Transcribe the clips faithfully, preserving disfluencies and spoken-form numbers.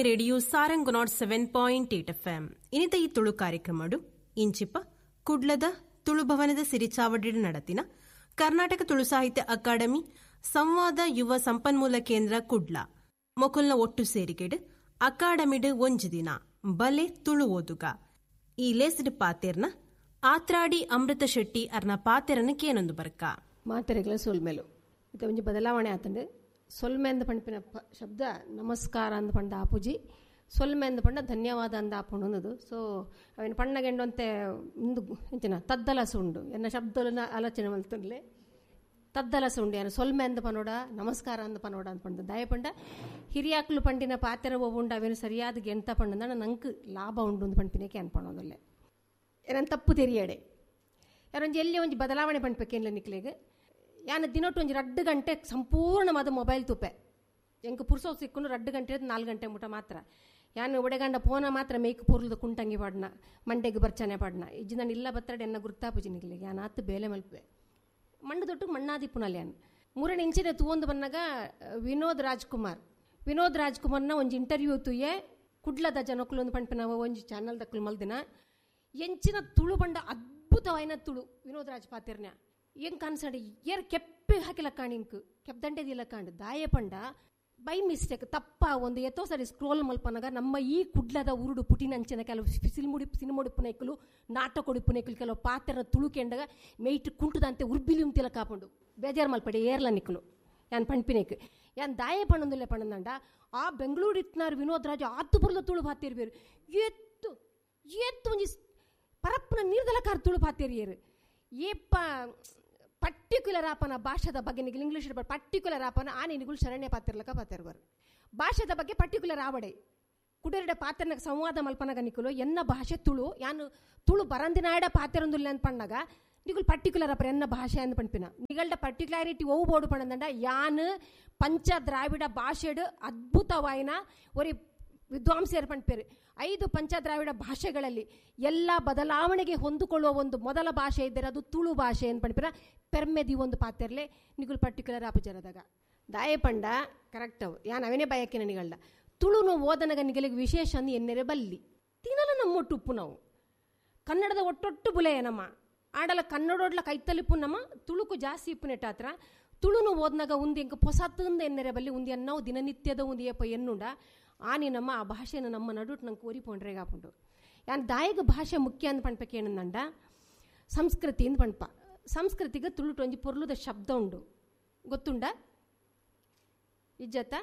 Radio Sarang nought seven point eight F M. ಇನಿತ ಈ ತುಳು ಕಾರ್ಯಕ್ರಮಡು ಇಂಚಿಪ ಕುಡ್ಲದ ತುಳುಭವನದ ಸಿರಿಚಾವಡಿ ನಡತಿನ ಕರ್ನಾಟಕ ತುಳು ಸಾಹಿತ್ಯ ಅಕಾಡೆಮಿ ಸಂವಾದ ಯುವ ಸಂಪನ್ಮೂಲ ಕೇಂದ್ರ ಕುಡ್ಲ ಮೊಕುಲ್ನ ಒಟ್ಟು ಸೇರಿಗೆಡು ಅಕಾಡೆಮಿಡ್ ಒಂಜಿ ದಿನ ಬಲೆ ತುಳು ಓದುಗ ಈ ಲೇಸ್ಡ್ ಪಾತೆರ್ನ ಆತ್ರಾಡಿ ಅಮೃತ ಶೆಟ್ಟಿ ಅರ್ನ ಪಾತೆರನ ಕೇನೊಂದು ಬರ್ಕ ಮಾತೆರೆಗಳ ಸೊಲ್ಮೆಲು ಇದು ಒಂಜಿ ಬದಲಾವಣೆ ಆತಂಡು. ಸೊಲ್ಮೆ ಅಂದ ಪಂಪಿನ ಶಬ್ದ ನಮಸ್ಕಾರ ಅಂದ ಪಂಡ ಆಪುಜಿ, ಸೊಲ್ಮೆ ಅಂದ ಪಂಡ ಧನ್ಯವಾದ ಅಂದ ಆಪುಂಡು ಅನ್ನೋದು. ಸೊ ಅವಿನ ಪಣ್ಣಗೆಂಡಂತೆ ಇಂದು ಎಂಚಿನ ತದ್ದಲಸ ಉಂಡು ಎನ್ನ ಶಬ್ದಲನ ಆಲೋಚನೆ ಮಲ್ತುಂಡ್ಲೆ ತದ್ದಲಸ ಉಂಡು. ಯಾನು ಸೊಲ್ಮೆ ಅಂದ ಪನೋಡ ನಮಸ್ಕಾರ ಅಂದ ಪನೋಡ ಅಂತ ಪಂಡ ದಾಯ ಪಂಡ ಹಿರಿಯಾಕ್ಲು ಪಂಡಿನ ಪಾತೆರ ಉಂಡು ಅವೇನು ಸರಿಯಾದ ಗೆಂತ ಪಂಡ ನಂಗೆ ಲಾಭ ಉಂಡು ಅಂದ್ ಪಂಪಿನಕ್ಕೆ ಅನ್ಪಣೋದಲ್ಲೇ ಏನಂತ ತಪ್ಪು ತೆರಿಯಡೆ ಯಾರೊಂಜಿ ಎಲ್ಲಿ ಒಂಜಿ ಬದಲಾವಣೆ ಪಂಡ್ಪೇಕೇನ್ಲ ನಿಕ್ಲೆಗ್ ಯಾನ ದಿನೊಟ್ಟು ಒಂಜಿ ರಡ್ಡು ಗಂಟೆ ಸಂಪೂರ್ಣವಾದ ಮೊಬೈಲ್ ತುಪ್ಪೆ ಎಂಕ್ ಪುರ್ಸೋ ಸಿಕ್ಕೊಂಡು ರಡ್ಡು ಗಂಟೆ ನಾಲ್ಕು ಗಂಟೆ ಮುಟ ಮಾತ್ರ ಯಾನು ಒಡೆಗಂಡ ಪೋನ ಮಾತ್ರ ಮೇಕ್ ಪೂರ್ಲದ ಕುಂಟಂಗಿ ಪಾಡ್ನ ಮಂಡೆಗೆ ಬರ್ಚನೆ ಪಾಡ್ನ ಇಜ್ಜಿ ನಾನು ಇಲ್ಲ ಬತ್ತಡೆ ಎನ್ನ ಗುರ್ತಾಪುಜಿ ನಿಕ್ಲೆಗ್ ಯಾನ್ ಆತು ಬೇಲೆ ಮಲ್ಪೆ ಮಣ್ಣು ದೊಟ್ಟು ಮಣ್ಣಾದಿಪ್ಪುನಲ್ಲಿ ಯಾನು ಮೂರನೇ ಇಂಚಿನ ತೂವೊಂದು ಬನ್ನಾಗ ವಿನೋದ್ ರಾಜ್ಕುಮಾರ್ ವಿನೋದ್ ರಾಜ್ಕುಮಾರ್ನ ಒಂಜಿ ಇಂಟರ್ವ್ಯೂ ತುಯ್ಯೆ ಕುಡ್ಲದ ಜನಕ್ಕುಲೊಂದು ಪಂಪಿನ ಒಂಜಿ ಚಾನಲ್ ದಕ್ಕಲು ಮಲ್ದಿನ ಎಂಚಿನ ತುಳು ಬಂಡ ಅದ್ಭುತವಾಯಿನ ತುಳು ವಿನೋದ್ ರಾಜ್ ಪಾತಿರ್ನ ಎಂಕ್ ಅನ್ಸಂಡೆ ಏರ್ ಕೆಪ್ಪೆ ಹಾಕಿಲ್ಲ ಕಾಣ್ ಇಂಕ್ ಕೆಪ್ದಂಡೆದಿಲ್ಲ ಕಾಂಡ್ ದಾಯ ಪಂಡ ಬೈ ಮಿಸ್ಟೇಕ್ ತಪ್ಪ ಒಂದು ಎತ್ತೋ ಸರಿ ಸ್ಕ್ರೋಲ್ ಮಲ್ಪನಾಗ ನಮ್ಮ ಈ ಕುಡ್ಲದ ಉರುಡು ಪುಟಿನಂಚಿನ ಕೆಲವು ಸಿಲ್ಮುಡಿ ಸಿನಿಮುಡಿಪ್ಪುನೈಕಲು ನಾಟಕೊಡಿಪ್ಪುನೈಕಲು ಕೆಲವು ಪಾತ್ರ ತುಳುಕೆಂಡಾಗ ಮೇಯ್ಟ್ ಕುಂಟದಂತೆ ಉರ್ಬಿಲಿ ಉಂತಿಲ್ಲ ಕಾಪುಂಡು ಬೇಜಾರು ಮಲ್ಪಡೆ ಏರ್ಲ ನಿಕ್ಕಲು ಯಾನ್ ಪಂಪಿನೇಕ್ ಯಾನ್ ದಾಯ ಪಣ್ಣೊಂದಿಲ್ಲ ಪಣ್ಣಂದಂಡ ಆ ಬೆಂಗಳೂರು ಇತ್ನಾರು ವಿನೋದ್ ರಾಜ್ ಆತು ಬುರ್ಲ ತುಳು ಪಾತಿರ್ಬೇರು ಎತ್ತು ಎತ್ತು ಒಂಜಿ ಪರಪ್ಪನ ನೀರ್ದಲ ಕಾರ್ ತುಳು ಪಾತಿರಿಯರು ಏಪ್ಪ ಪರ್ಟಿಕ್ಯುಲರ್ ಆಪನ ಭಾಷೆದ ಬಗ್ಗೆ ನಿಗಲು ಇಂಗ್ಲೀಷ್ ಪರ್ಟಿಕ್ಯುಲರ್ ಆಪನ ಆ ನಿನಗಳು ಶರಣ್ಯ ಪಾತಿರ್ಲಕ ಪಾತಿರ್ಬಾರು ಭಾಷೆದ ಬಗ್ಗೆ ಪರ್ಟಿಕ್ಯುಲರ್ ಆವಡೆ ಕುಡರೆಡ ಪಾತ್ರನ ಸಂವಾದ ಮಲ್ಪನಾಗ ನಿಕುಲು ಎನ್ನ ಭಾಷೆ ತುಳು ಯಾನು ತುಳು ಬರಂದಿನಾಡ ಪಾತಿರೊಂದುಲ್ಲ ಅಂತ ಪಣ್ಣಾಗ ನಿಗುಲು ಪರ್ಟಿಕ್ಯುಲರ್ ಅಪ್ಪ ಎನ್ನ ಭಾಷೆ ಅಂದ್ ಪಂಪಿನ ನಿಗಲ್ಡ ಪರ್ಟಿಕ್ಯುಲಾರಿಟಿ ಒವು ಬೋಡು ಪಣ್ಣಂದಂಡ ಯಾನು ಪಂಚ ದ್ರಾವಿಡ ಭಾಷೆಡು ಅದ್ಭುತವಾಯಿನ ಒರಿ ವಿದ್ವಾಂಸರು ಪಂಪೇರು ಐದು ಪಂಚದ್ರಾವಿಡ ಭಾಷೆಗಳಲ್ಲಿ ಎಲ್ಲ ಬದಲಾವಣೆಗೆ ಹೊಂದಿಕೊಳ್ಳುವ ಒಂದು ಮೊದಲ ಭಾಷೆ ಇದ್ದರೆ ಅದು ತುಳು ಭಾಷೆ ಅಂತ ಪಂಪಿನ ಪೆರ್ಮೆದಿ ಒಂದು ಪಾತೆರ್ಲೆ ನಿಗುಲು ಪರ್ಟಿಕ್ಯುಲರ್ ಆಪುಜರದಾಗ ದಾಯ ಪಂಡ ಕರೆಕ್ಟ್ ಅವು ಯಾನ್ ಅವೇನೇ ಬಯಕಿನ ನಿಗಳ್ದ ತುಳುನು ಓದನಗ ನಿಗಲಿಗೆ ವಿಶೇಷ ಅಂದು ಎನ್ನೆರೆ ಬಲ್ಲಿ ತಿನ್ನಲ ನಮ್ಮೊಟ್ಟು ಉಪ್ಪು ನಾವು ಕನ್ನಡದ ಒಟ್ಟೊಟ್ಟು ಬುಲೆಯ ನಮ್ಮ ಆಡಲ ಕನ್ನಡೋಡ್ಲ ಕೈತಲಿಪ್ಪು ನಮ್ಮ ತುಳುಕು ಜಾಸ್ತಿ ಇಪ್ಪು ನೆಟ್ಟಾತ್ರ ತುಳುನು ಓದ್ನಾಗ ಉಂದು ಎಂಕ ಪೊಸತ್ತಂದ ಎನ್ನೆರೆ ಬಲ್ಲಿ ಉಂದಿ ಅನ್ನವು ದಿನನಿತ್ಯದ ಉಂದು ಏಪ ಎನ್ನುಂಡ ಆನಿ ನಮ್ಮ ಆ ಭಾಷೆನ ನಮ್ಮ ನಡುಟ್ ನಂಗೆ ಕೋರಿ ಆಪುಂಡು ಯಾನ್ ದಾಯಗ ಭಾಷೆ ಮುಖ್ಯ ಅಂದ್ ಪಣ್ಪಕ್ಕೆ ಏನಂದಂಡ ಸಂಸ್ಕೃತಿ ಅಂದ್ ಪಣ್ಪ ಸಂಸ್ಕೃತಿಗೆ ತುಳುಟು ಒಂಜಿ ಪೊರ್ಲುದ ಶಬ್ದ ಉಂಡು ಗೊತ್ತುಂಡ ಇಜ್ಜತ್ತ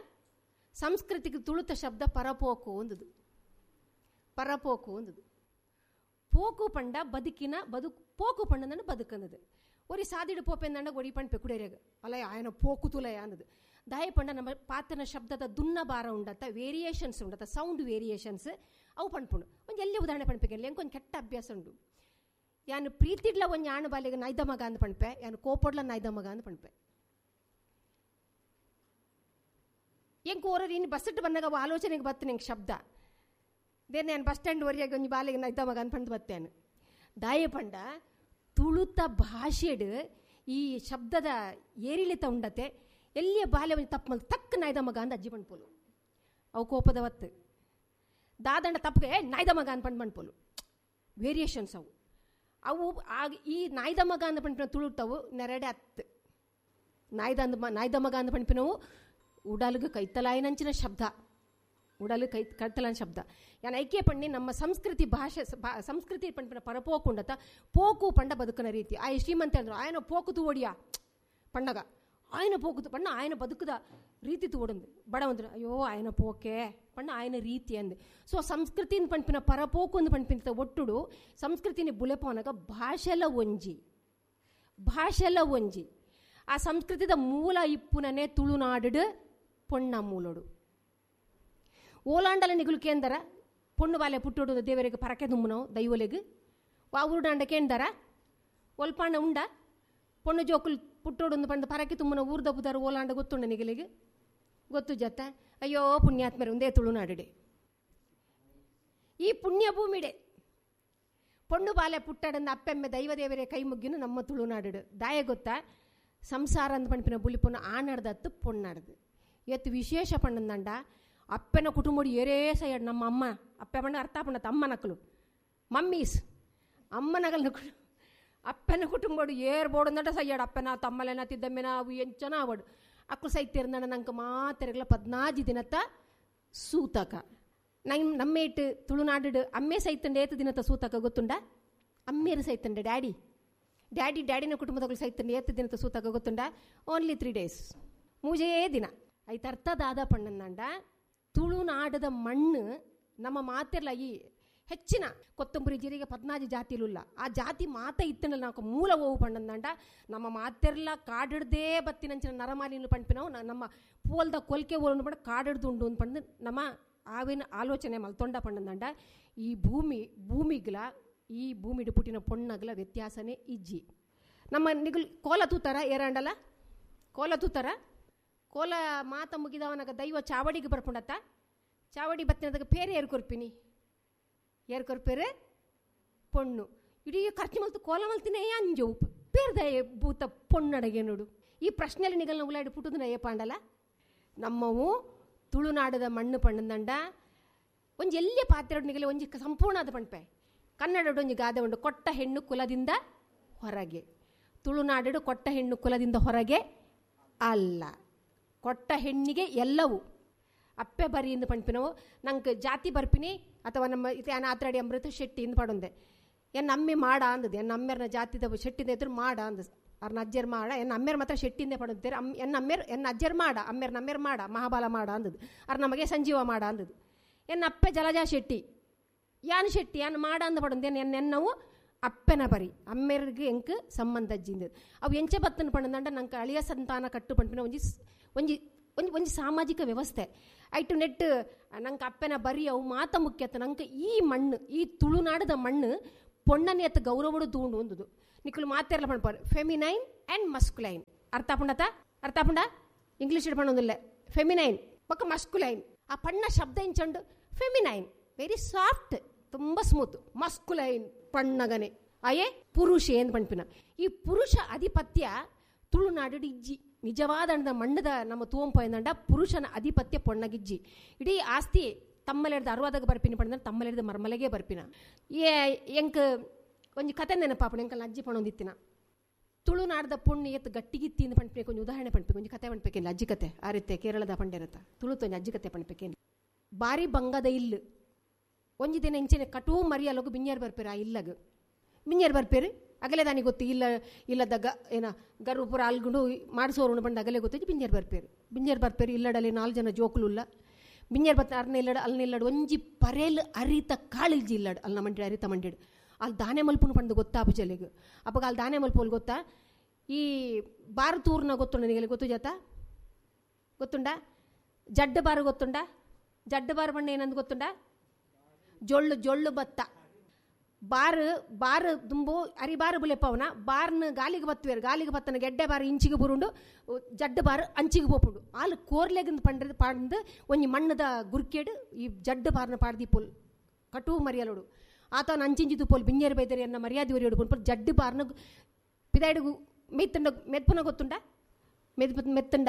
ಸಂಸ್ಕೃತಿಗೆ ತುಳುತ ಶಬ್ದ ಪರಪೋಕು ಒಂದುದು ಪರಪೋಕು ಒಂದುದು ಪೋಕು ಪಂಡ ಬದುಕಿನ ಬದುಕು ಪೋಕು ಪಂಡಂದಂಡ ಬದುಕಂದದು ಒರಿ ಸಾದಿಡು ಪೋಪೆಂದಂಡ ಒರಿ ಪಂಡ್ಪೆ ಕುಡೇರಿಯಾಗ ಅಲ್ಲ ಆಯನ ಪೋಕು ತುಲಯ ಅಂದದು ದಾಯ ಪಂಡ ನಮ್ಮ ಪಾತ್ರನ ಶಬ್ದದ ದುನ್ನ ಭಾರ ಉಂಡತ್ತ ವೇರಿಯೇಷನ್ಸ್ ಉಂಡತ್ತ ಸೌಂಡ್ ವೇರಿಯೇಷನ್ಸ್ ಅವು ಪಣ್ಪುಂಡು ಒಂದು ಎಲ್ಲಿ ಉದಾಹರಣೆ ಪಣ್ಪೆಗೆ ಎಂಕೊಂದು ಕೆಟ್ಟ ಅಭ್ಯಾಸ ಉಂಡು ಯಾನು ಪ್ರೀತಿಡ್ಲ ಒಂದು ಯಾನು ಬಾಲಿಗೆ ನಾಯ್ದ ಮಗ ಅಂದ್ ಪಣ್ಪೆ ಯಾನು ಕೋಪೊಡ್ಲ ನಾಯ್ದ ಮಗ ಅಂದ್ ಪಣ್ಪೆ ಎಂಕ್ ಓರರು ಇನ್ನು ಬಸ್ಸಿಟ್ಟು ಬಂದಾಗ ಅವು ಆಲೋಚನೆಗೆ ಬತ್ತು ನಿಂಗೆ ಶಬ್ದ ದೇನೆ ನಾನು ಬಸ್ ಸ್ಟ್ಯಾಂಡ್ ವರಿಯಾಗಿ ಒಂದು ಬಾಲಿಗೆ ನಾಯ್ದ ಮಗ ಅಂದ್ ಪಂಡ್ ಬತ್ತೇನು ದಾಯ ಪಂಡ ತುಳುತ ಭಾಷೆಡು ಈ ಶಬ್ದದ ಏರಿಳಿತ ಉಂಡತೆ ಎಲ್ಲಿಯ ಬಾಲ್ಯ ಒಂದು ತಪ್ಪು ಮಲ್ ತಕ್ಕ ನಾಯ್ದ ಮಗ ಅಂದ ಅಜ್ಜಿ ಪಣ್ಪೋಲು ಅವು ಕೋಪದ ಒತ್ತು ದಾದಂಡ ತಪ್ಪಿಗೆ ನಾಯ್ದ ಮಗ ಅಂದ್ ಪಂಡ್ ಪಣ್ಪೋಲು ವೇರಿಯೇಷನ್ಸ್ ಅವು ಅವು ಆಗ ಈ ನಾಯ್ದ ಮಗ ಅಂದ ಪಂಪಿನ ತುಳುಟವು ನೆರಡೆ ಅತ್ತು ನಾಯ್ದ ಅಂದ ನಾಯ್ದ ಮಗ ಅಂದ ಪಂಪಿನವು ಉಡಲ್ಗೆ ಕೈತಲಾಯಿನಂಚಿನ ಶಬ್ದ ಉಡಲು ಕೈ ಕೈತಲಾಯನ ಶಬ್ದ ಯಾನ್ ಐಕ್ಯ ಪಣ್ಣಿ ನಮ್ಮ ಸಂಸ್ಕೃತಿ ಭಾಷೆ ಸಂಸ್ಕೃತಿ ಪಂಪಿನ ಪರಪೋಕುಂಡತ ಪೋಕು ಪಂಡ ಬದುಕನ ರೀತಿ ಆಯ ಶ್ರೀಮಂತ ಅಂದ್ರು ಆಯನ ಪೋಕು ತೂವಡಿಯ ಪಣ್ಣಗ ఆయన పోకుదు పಣ್ಣ ఆయన ಬದುಕದ ರೀತಿ ತೋಡಂದು ಬಡವಂದ್ರು ಅಯ್ಯೋ ఆయన ಪೋಕೆ ಪಣ್ಣ ఆయన ರೀತಿ ಅಂದು. ಸೊ ಸಂಸ್ಕೃತಿನ ಪಂಪಿನ ಪರಪೋಕು ಅಂದು ಪಂಪಿನ ಒಟ್ಟುಡು ಸಂಸ್ಕೃತಿని ಬುಲೆಪೋನಗ ಭಾಷೆಲ ಒಂಜಿ ಭಾಷೆಲ ಒಂಜಿ ಆ ಸಂಸ್ಕೃತಿದ ಮೂಲ ಇಪ್ಪುನನೆ ತುಳುನಾಡು ಪೊಣ್ಣ ಮೂಲೋಡು ಓಲಾಂಡಲ ನಿಗುಲು ಕೇಂದರ ಪೊಣ್ಣು ಬಾಲೆ ಪುಟ್ಟೋಡು ದೇವರಿಗೆ ಪರಕೆ ದುಮ್ಮನವು ದೈವಲೆಗ್ ವಾ ಊರುಡಾಂಡ ಕೇಂದರ ಒಲ್ಪಾಂಡ ಉಂಡ ಪೊಣ್ಣು ಜೋಕುಲು ಪುಟ್ಟೋಡೊಂದು ಪಂಡ ಪರಕೆ ತುಮ್ಮನ ಊರ್ದ ಪುದಾರು ಓಲಾಂಡ ಗೊತ್ತುಂಡ ನಿಗಲಿಗೆ ಗೊತ್ತು ಜತ್ತ ಅಯ್ಯೋ ಪುಣ್ಯಾತ್ಮರೆ ಒಂದೇ ತುಳುನಾಡುಡೆ ಈ ಪುಣ್ಯ ಭೂಮಿಡೆ ಪೊಣ್ಣು ಬಾಲೆ ಪುಟ್ಟಡಂದ ಅಪ್ಪೆಮ್ಮೆ ದೈವದೇವರೇ ಕೈ ಮುಗ್ಗಿನು ನಮ್ಮ ತುಳುನಾಡು ದಾಯ ಗೊತ್ತಾ ಸಂಸಾರ ಅಂದ ಪಂಪಿನ ಬುಲಿಪೊನ್ನು ಆನಾಡ್ದತ್ತು ಪೊಣ್ಣಾಡ್ದು ಎತ್ತು ವಿಶೇಷ ಪಣ್ಣಂದಂಡ ಅಪ್ಪನ ಕುಟುಂಬಡು ಏರೇ ಸೈಡ್ ನಮ್ಮ ಅಮ್ಮ ಅಪ್ಪೆ ಪಂಡ ಅರ್ಥ ಪಂಡ ಅಮ್ಮನಕ್ಕಲು ಮಮ್ಮೀಸ್ ಅಮ್ಮನಗಲ್ನ ಅಪ್ಪನ ಕುಟುಂಬಡು ಏರ್ ಬೋಡಂದಟ ಸಯ್ಯಾಡು ಅಪ್ಪನ ತಮ್ಮಲೆನ ತಿದ್ದಮ್ಮೆನ ಅವು ಎಂಚನ ಅವಡು ಅಕ್ಕಳು ಸೈತಿರ್ನಡ ನಂಗೆ ಮಾತೆರಗಲ ಪದ್ನಾಜಿ ದಿನತ್ತ ಸೂತಕ. ನಂ ನಮ್ಮೇಟ್ ತುಳುನಾಡು ಅಮ್ಮೆ ಸೈತಂಡೆ ಏತು ದಿನತ್ತ ಸೂತಕ ಗೊತ್ತುಂಡ? ಅಮ್ಮೇರು ಸೈತಂಡೆ ಡ್ಯಾಡಿ ಡ್ಯಾಡಿ ಡ್ಯಾಡಿನ ಕುಟುಂಬದಗಳು ಸೈತಂಡೆ ಏತು ದಿನತ್ತ ಸೂತಕ ಗೊತ್ತುಂಡ? Only three days, ಮೂಜೇ ದಿನ. ಐತ ಅರ್ಥ ದಾದ ಪಣ್ಣಂದಾಂಡ ತುಳುನಾಡದ ಮಣ್ಣು ನಮ್ಮ ಮಾತೆಲ್ಲ ಈ ಹೆಚ್ಚಿನ ಕೊತ್ತಂಬರಿ ಜೀರಿಗೆ ಪದ್ನಾಜಿ ಜಾತಿಲುಲ್ಲ ಆ ಜಾತಿ ಮಾತ ಇತ್ತನಲ್ಲ ನಾವು ಮೂಲ ಓವು ಪಣ್ಣಂದಾಂಡ ನಮ್ಮ ಮಾತೆರ್ಲ ಕಾಡಿಡ್ದೇ ಬತ್ತಿನಂಚಿನ ನರಮಾಲಿನ ಪಂಪಿನವು ನಮ್ಮ ಪೋಲ್ದ ಕೊಲ್ಕೆ ಓಲು ಪಂಡ ಕಾಡಿಡ್ದು ಉಂಡು ಅಂತ ಪಂಡು ನಮ್ಮ ಆವಿನ ಆಲೋಚನೆ ಮಲ್ತೊಂಡ ಪಣ್ಣಂದಾಂಡ ಈ ಭೂಮಿ ಭೂಮಿಗ್ಲ ಈ ಭೂಮಿಡು ಪುಟ್ಟಿನ ಪೊಣ್ಣಗ್ಲ ವ್ಯತ್ಯಾಸನೇ ಇಜ್ಜಿ. ನಮ್ಮ ನಿಗುಲ್ ಕೋಲ ತೂತಾರ ಏರಾಂಡಲ ಕೋಲ ತೂತಾರ ಕೋಲ ಮಾತ ಮುಗಿದವನಾಗ ದೈವ ಚಾವಡಿಗೆ ಬರ್ಪುಂಡತ್ತ ಚಾವಡಿ ಬತ್ತಿನದಾಗ ಪೇರೆ ಏರ್ ಕೊರ್ಪಿನಿ ಏರ್ ಕೊರ್ಪೇರೆ ಪೊಣ್ಣು ಇಡೀ ಖರ್ಚು ಮಲ್ತು ಕೋಲ ಮಲ್ತಿನೇ ಅಂಜು ಪೇರ್ದ ಭೂತ ಪೊಣ್ಣಡಗೆ ನೋಡು. ಈ ಪ್ರಶ್ನೆಯಲ್ಲಿ ನಿಗಲ್ನ ಉಲಾಡಿ ಪುಟ್ಟುದನ್ನ ಏಪಾಂಡಲ ನಮ್ಮವು ತುಳುನಾಡದ ಮಣ್ಣು ಪಣ್ಣಂದಂಡ ಒಂಜಿ ಎಲ್ಲಿಯ ಪಾತ್ರೆ ನಿಗಲಿ ಒಂಜಿ ಸಂಪೂರ್ಣ ಅದು ಪಣ್ಪೆ ಕನ್ನಡ ಒಂಜಿ ಗಾದೆ ಉಂಡು ಕೊಟ್ಟ ಹೆಣ್ಣು ಕುಲದಿಂದ ಹೊರಗೆ. ತುಳುನಾಡು ಕೊಟ್ಟ ಹೆಣ್ಣು ಕುಲದಿಂದ ಹೊರಗೆ ಅಲ್ಲ, ಕೊಟ್ಟ ಹೆಣ್ಣಿಗೆ ಎಲ್ಲವೂ ಅಪ್ಪೆ ಬರಿ ಎಂದು ಪಣ್ಪಿನವು. ನಂಗೆ ಜಾತಿ ಬರ್ಪಿನಿ ಅಥವಾ ನಮ್ಮ ಇತ್ತೆ ಆತ್ರಾಡಿ ಅಮೃತ ಶೆಟ್ಟಿ ಇಂದು ಪಡೊಂದೆ ಎನ್ನ ಅಮ್ಮೆ ಮಾಡ ಅಂದದ್ದು ಎನ್ನ ಅಮ್ಮೆರ್ನ ಜಾತಿದ ಶೆಟ್ಟಿಂದ ಎದುರು ಮಾಡ ಅಂದ ಅವ್ರನ್ನ ಅಜ್ಜರ್ ಮಾಡ ಎನ್ನ ಅಮ್ಮೇರು ಮಾತ್ರ ಶೆಟ್ಟಿಂದೆ ಪಡೊಂತಾರೆ ಅಮ್ ಎನ್ನ ಅಮ್ಮೇರು ಎನ್ನ ಅಜ್ಜರ್ ಮಾಡ ಅಮ್ಮೇರ್ ನಮ್ಮೇರು ಮಾಡ ಮಹಾಬಲ ಮಾಡ ಅಂದದ್ದು ಅವ್ರ ನಮಗೆ ಸಂಜೀವ ಮಾಡ ಅಂದದ್ದು. ಎನ್ನ ಅಪ್ಪೆ ಜಲಜಾ ಶೆಟ್ಟಿ ಯಾನ್ ಶೆಟ್ಟಿ ಯಾನ್ ಮಾಡ ಅಂದ ಪಡೊಂದೆ ಎನ್ನ ಎನ್ನವು ಅಪ್ಪೆನ ಬರಿ ಅಮ್ಮೇರಿಗೆ ಎಂಕ್ ಸಂಬಂಧ ಅಜ್ಜಿಂದದ್ದು ಅವು ಎಂಚೆ ಬತ್ತನ ಪಣ್ಣಂದಂಡ ನಂಗೆ ಅಳಿಯ ಸಂತಾನ ಕಟ್ಟು ಪಂಪಿನ ಒಂಜಿ ಒಂಜಿ ಒಂಜಿ ಒಂಜಿ ಸಾಮಾಜಿಕ ವ್ಯವಸ್ಥೆ ಐಟು ನೆಟ್ ನಂಗೆ ಅಪ್ಪೆನ ಬರಿ ಅವು ಮಾತ ಮುಖ್ಯತ. ನಂಗೆ ಈ ಮಣ್ಣು ಈ ತುಳುನಾಡದ ಮಣ್ಣು ಪೊಣ್ಣನೆ ಅತ್ತ ಗೌರವಡು ತೂಂಡು ಒಂದುದು ನಿಕ್ಕಲು ಮಾತೆರ್ಲ ಪಣ್ಪಾರು ಫೆಮಿನೈನ್ ಆ್ಯಂಡ್ ಮಸ್ಕುಲೈನ್. ಅರ್ಥ ಪುಂಡತ ಅರ್ಥ ಪುಂಡ ಇಂಗ್ಲೀಷ್ ಪಣ್ಣೊಂದಿಲ್ಲ ಫೆಮಿನೈನ್ ಪಕ್ಕ ಮಸ್ಕುಲೈನ್ ಆ ಪಣ್ಣ ಶಬ್ದ ಇಂಚಂಡು feminine very soft ತುಂಬ ಸ್ಮೂತ್ ಮಸ್ಕುಲೈನ್ ಪಣ್ಣಗನೆ ಅಯೇ ಪುರುಷ ಏನು ಪಣ್ಪಿನ ಈ ಪುರುಷ ಅಧಿಪತ್ಯ ತುಳುನಾಡು ಇಜ್ಜಿ ನಿಜವಾದ ಮಣ್ಣದ ನಮ್ಮ ತೂಂಪೋಯಂದಂಡ ಪುರುಷನ ಅಧಿಪತ್ಯ ಪೊಣ್ಣಗಿಜ್ಜಿ. ಇಡೀ ಆಸ್ತಿ ತಮ್ಮಲೆಡ್ದ ಅರ್ವಾದಾಗ ಬರ್ಪಿನ ಪಂಡ ತಮ್ಮಲೆಡ್ದ ಮರ್ಮಲೆಗೆ ಬರ್ಪಿನ. ಏ ಎಂಕ್ ಒಂಜಿ ಕತೆ ನೆನಪಾಪಣ ಎಂಕಲ್ ಅಜ್ಜಿ ಪಣೊಂದಿತ್ತಿನ ತುಳುನಾಡದ ಪೊಣ್ಣು ಎತ್ತು ಗಟ್ಟಿಗಿತ್ತಿ ಇಂದ ಪಣ್ಪೇಕು ಒಂಜಿ ಉದಾಹರಣೆ ಪಣ್ಪೇಕು ಒಂಜಿ ಕತೆ ಪಣ್ಪೇಕೇನು ಅಜ್ಜಿ ಕತೆ ಆ ರೀತಿ ಕೇರಳದ ಪಂಡೇರತ್ತ ತುಳುತ ಒಂಜಿ ಅಜ್ಜಿ ಕತೆ ಪಣ್ಪೇಕೇನು. ಬಾರಿ ಬಂಗದ ಇಲ್ಲು ಒಂಜಿ ದಿನ ಇಂಚೆನೆ ಕಟೂ ಮರಿಯಲಗು ಬಿಂಜಾರು ಬರ್ಪೇರು ಆ ಇಲ್ಲಗು ಬಿಂಜಾರು ಬರ್ಪೇರು ಅಗಲೇ ದಾನಿ ಗೊತ್ತು ಇಲ್ಲ ಇಲ್ಲದ ಗ ಏನ ಗರು ಪೂರ ಅಲ್ಗುಂಡು ಮಾಡಿಸೋರು ಬಂದು ಅಗಲೇ ಗೊತ್ತು ಬಿಂಜಾರು ಬರ್ಪೇರು ಬಿಂಜಾರು ಬರ್ಪೇರು ಇಲ್ಲಡಲ್ಲಿ ನಾಲ್ಕು ಜನ ಜೋಕುಲುಲ್ಲ ಬಿಂಜಾರು ಬತ್ತ ಅರ್ನ ಇಲ್ಲಡ ಅಲ್ನ ಇಲ್ಲಡು ಒಂಜಿ ಪರೇಲ್ ಅರಿತ ಕಾಳಿಲ್ಜಿ ಇಲ್ಲಡು ಅಲ್ನ ಮಂಡಿ ಅರಿತ ಮಂಡಿಡು ಅಲ್ಲಿ ದಾನೆ ಮಲ್ಪುನು ಪಂಡು ಗೊತ್ತಾ ಜಲೆಗ್ ಅಪ್ಪಗ ಅಲ್ಲಿ ದಾನೆ ಮಲ್ಪೋಲ್ ಗೊತ್ತಾ ಈ ಬಾರತೂರ್ನ ಗೊತ್ತುಂಡ ನಿಗಲಿ ಗೊತ್ತು ಜಾತ ಗೊತ್ತುಂಡ ಜಡ್ಡ ಬಾರು ಗೊತ್ತುಂಡ ಜಡ್ಡ ಬಾರು ಬಣ್ಣ ಏನಂದು ಗೊತ್ತುಂಡ ಜೊಳ್ಳು ಜೊಳ್ಳು ಭತ್ತ ಬಾರು ಬಾರು ದುಂಬು ಅರಿ ಬಾರು ಬುಲೆಪವನ ಬಾರ್ನ ಗಾಲಿಗೆ ಬತ್ತುವೇರು ಗಾಲಿಗೆ ಬತ್ತನ ಗೆಡ್ಡೆ ಬಾರು ಇಂಚಿಗೆ ಬುರುಂಡು ಜಡ್ಡ ಬಾರು ಅಂಚಿಗೆ ಪೋಪುಂಡು ಆಲು ಕೋರ್ಲೆಗಂದು ಪಂಡ್ರದು ಪಾಡ್ದು ಒಂಜಿ ಮಣ್ಣದ ಗುರ್ಕೇಡು ಈ ಜಡ್ಡ ಬಾರ್ನ ಪಾಡ್ದಿ ಪೋಲ್ ಕಟು ಮರಿಯಲೋಡು ಆತನ ಅಂಚಿಂಚಿದು ಪೋಲ್ ಬಿಂಜೇರು ಬೈದರೆ ಎನ್ನ ಮರ್ಯಾದೆ ಒರಿಯೋಡು ಪೋಲ್ ಜಡ್ಡು ಬಾರ್ನ ಪಿದಾಯ್ಡು ಮೆತ್ತುಂಡ ಮೆತ್ಪುನ ಗೊತ್ತುಂಡ ಮೆದ್ ಮೆತ್ತುಂಡ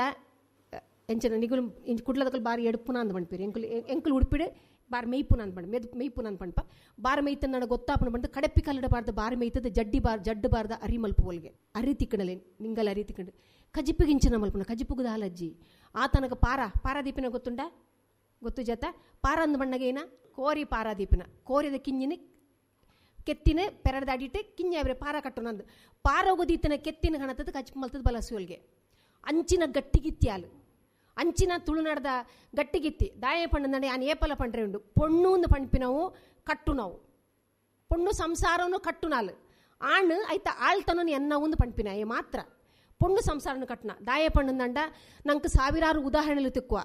ಎಂಚಿನ ನಿಗುಲು ಇಂಚ್ ಕುಡ್ಲದಕಲ್ ಬಾರಿ ಎಡುಪುನ ಅಂದ್ ಪಣ್ಪೇರು ಎಂಕುಲು ಎಂಕುಲು ಉಡುಪಿಡು ಬಾರ್ ಮೇಯ್ಪುನ ಅಂದ್ ಪಂಡ ಮೆದ್ ಮೇಯ್ಪುನ ಅಂದ್ ಪಂಪ ಬಾರ್ ಮೇಯ್ತನ ಗೊತ್ತಾಪನ ಬಂದು ಕಡಪ್ಪಿ ಕಲ್ಲಡ ಬಾರ್ದ ಬಾರ್ ಮೇಯ್ತದ ಜಡ್ಡಿ ಬಾರ್ ಜಡ್ಡು ಬಾರ್ದ ಅರಿ ಮಲ್ಪು ಒಲ್ಗೆ ಅರಿ ತಿಕ್ಕಣಲೆ ನಿಂಗಲ್ ಅರಿ ತಿಕ್ಕಂಡು ಕಜಿಪಿಗೆ ಇಂಚಿನ ಮಲ್ಪುನ ಕಜಿಪುಗದ ಹಾಲಜ್ಜಿ ಆತನಗ ಪಾರ ಪಾರಾದೀಪಿನ ಗೊತ್ತುಂಡ ಗೊತ್ತು ಜತ ಪಾರ ಅಂದ ಬಣ್ಣಗೆ ಏನ ಕೋರಿ ಪಾರಾದೀಪಿನ ಕೋರಿದ ಕಿಂಜಿನ ಕೆತ್ತಿನ ಪೆರಡ್ದ ಅಡಿಟ್ಟು ಕಿಂಜ ಪಾರ ಕಟ್ಟುನಂದು ಪಾರ ಹೋಗೋದೀತನ ಕೆತ್ತಿನ ಗಣತದ ಕಜಿಪು ಮಲ್ತದ ಬಲಸುವಲ್ಗೆ ಅಂಚಿನ ಗಟ್ಟಿಗಿತ್ತಿ ಹಾಲು ಅಂಚಿನ ತುಳುನಾಡದ ಗಟ್ಟಿಗಿತ್ತಿ ದಾಯ ಪಣ್ಣಂದಂಡೆ ಆನ್ ಏಪಲ ಪಂಡ್ರೆ ಉಂಡು ಪೊಣ್ಣು ಪಣ್ಪಿನವು ಕಟ್ಟು ನಾವು ಪೊಣ್ಣು ಸಂಸಾರನು ಕಟ್ಟು ನಾಲು ಆಣ್ ಐತ ಆಳ್ತನೂ ಎನ್ನ ಒಂದು ಪಣ್ಪಿನ ಏ ಮಾತ್ರ ಪೊಣ್ಣು ಸಂಸಾರನು ಕಟ್ಟನ ದಾಯ ಪಣ್ಣಂದಂಡ ನಂಗೆ ಸಾವಿರಾರು ಉದಾಹರಣೆಗಳು ತಿಕ್ಕುವ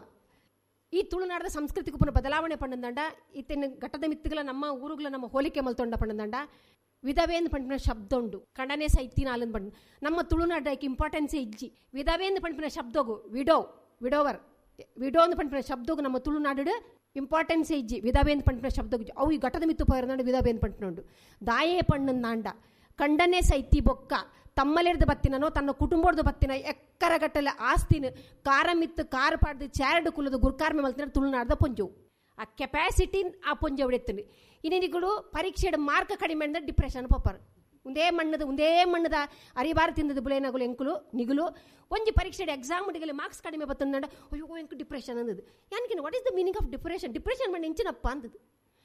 ಈ ತುಳುನಾಡದ ಸಂಸ್ಕೃತಿಗೆ ಪುನಃ ಬದಲಾವಣೆ ಪಣ್ಣಂದಂಡ ಇತ್ತಿನ ಘಟ್ಟದ ಮಿತ್ತುಗಳ ನಮ್ಮ ಊರುಗಳ ನಮ್ಮ ಹೋಲಿಕೆ ಮಲ್ತೊಂಡ ಪಣ್ಣಂದಂಡ ವಿಧವೇಂದು ಪಂಪಿನ ಶಬ್ದ ಉಂಡು ಕಡನೆ ಸೈತಿನ ಅಲ್ಲಂದು ಪಂಡ ನಮ್ಮ ತುಳುನಾಡಕ್ಕೆ ಇಂಪಾರ್ಟೆನ್ಸೇ ಇಜ್ಜಿ ವಿಧವೇಂದು ಪಂಪಿನ ಶಬ್ದಗು widow widower widow ಅಂದ್ ಪಂಪಿನ ಶಬ್ದಗು ನಮ್ಮ ತುಳುನಾಡು ಇಂಪಾರ್ಟೆನ್ಸ್ ಇಜ್ಜಿ ವಿಧವೇಂದು ಪಂಪಿನ ಶಬ್ದಗು ಅವು ಈ ಘಟದ ಮಿತ್ತು ಪೋಯರ್ನಾಡು ವಿಧವೇಂದು ಪಂಪಿನೋಂಡು ದಾಯೇ ಪಣ್ಣಂದಾಂಡ ಕಂಡನೆ ಸೈತಿ ಬೊಕ್ಕ ತಮ್ಮಲೆರ್ದು ಬತ್ತಿನೋ ತನ್ನ ಕುಟುಂಬದ ಬತ್ತಿನ ಎಕ್ಕರಗಟ್ಟಲೆ ಆಸ್ತಿನ ಕಾರ ಮಿತ್ತು ಕಾರ್ ಪಾಡ್ದು ಚಾರಡು ಕುಲದ ಗುರ್ಕಾರ್ಮೆ ಮಲ್ತಿನ ತುಳುನಾಡ್ದ ಪೊಂಜವು. ಆ ಕೆಪಾಸಿಟಿ ಆ ಪೊಂಜವು ಎತ್ತುಂಡು. ಇನ್ನಿಗಳು ಪರೀಕ್ಷೆಡ್ ಮಾರ್ಕ್ ಕಡಿಮೆ ಅಂದ್ರೆ ಡಿಪ್ರೆಷನ್ ಪೋಪರ್. ಒಂದೇ ಮಣ್ಣದ ಒಂದೇ ಮಣ್ಣದ ಅರಿಬಾರ ತಿಂದದ ಬುಲೇನಗುಲು ಎಂಕುಲು ನಿಗುಲು ಒಂಜಿ ಪರೀಕ್ಷೆಡ್ ಎಕ್ಸಾಮ್ ಡಿಗಲಿ ಮಾರ್ಕ್ಸ್ ಕಡಿಮೆ ಬತ್ತಂದ ಅಯ್ಯೋ ಎಂಕು depression ಅಂದದು. ಯಾನ್ಕಿನ what is the meaning of depression? Depression ಮಣ್ಣ ಎಂಚಿನಪ್ಪ ಅಂದದು.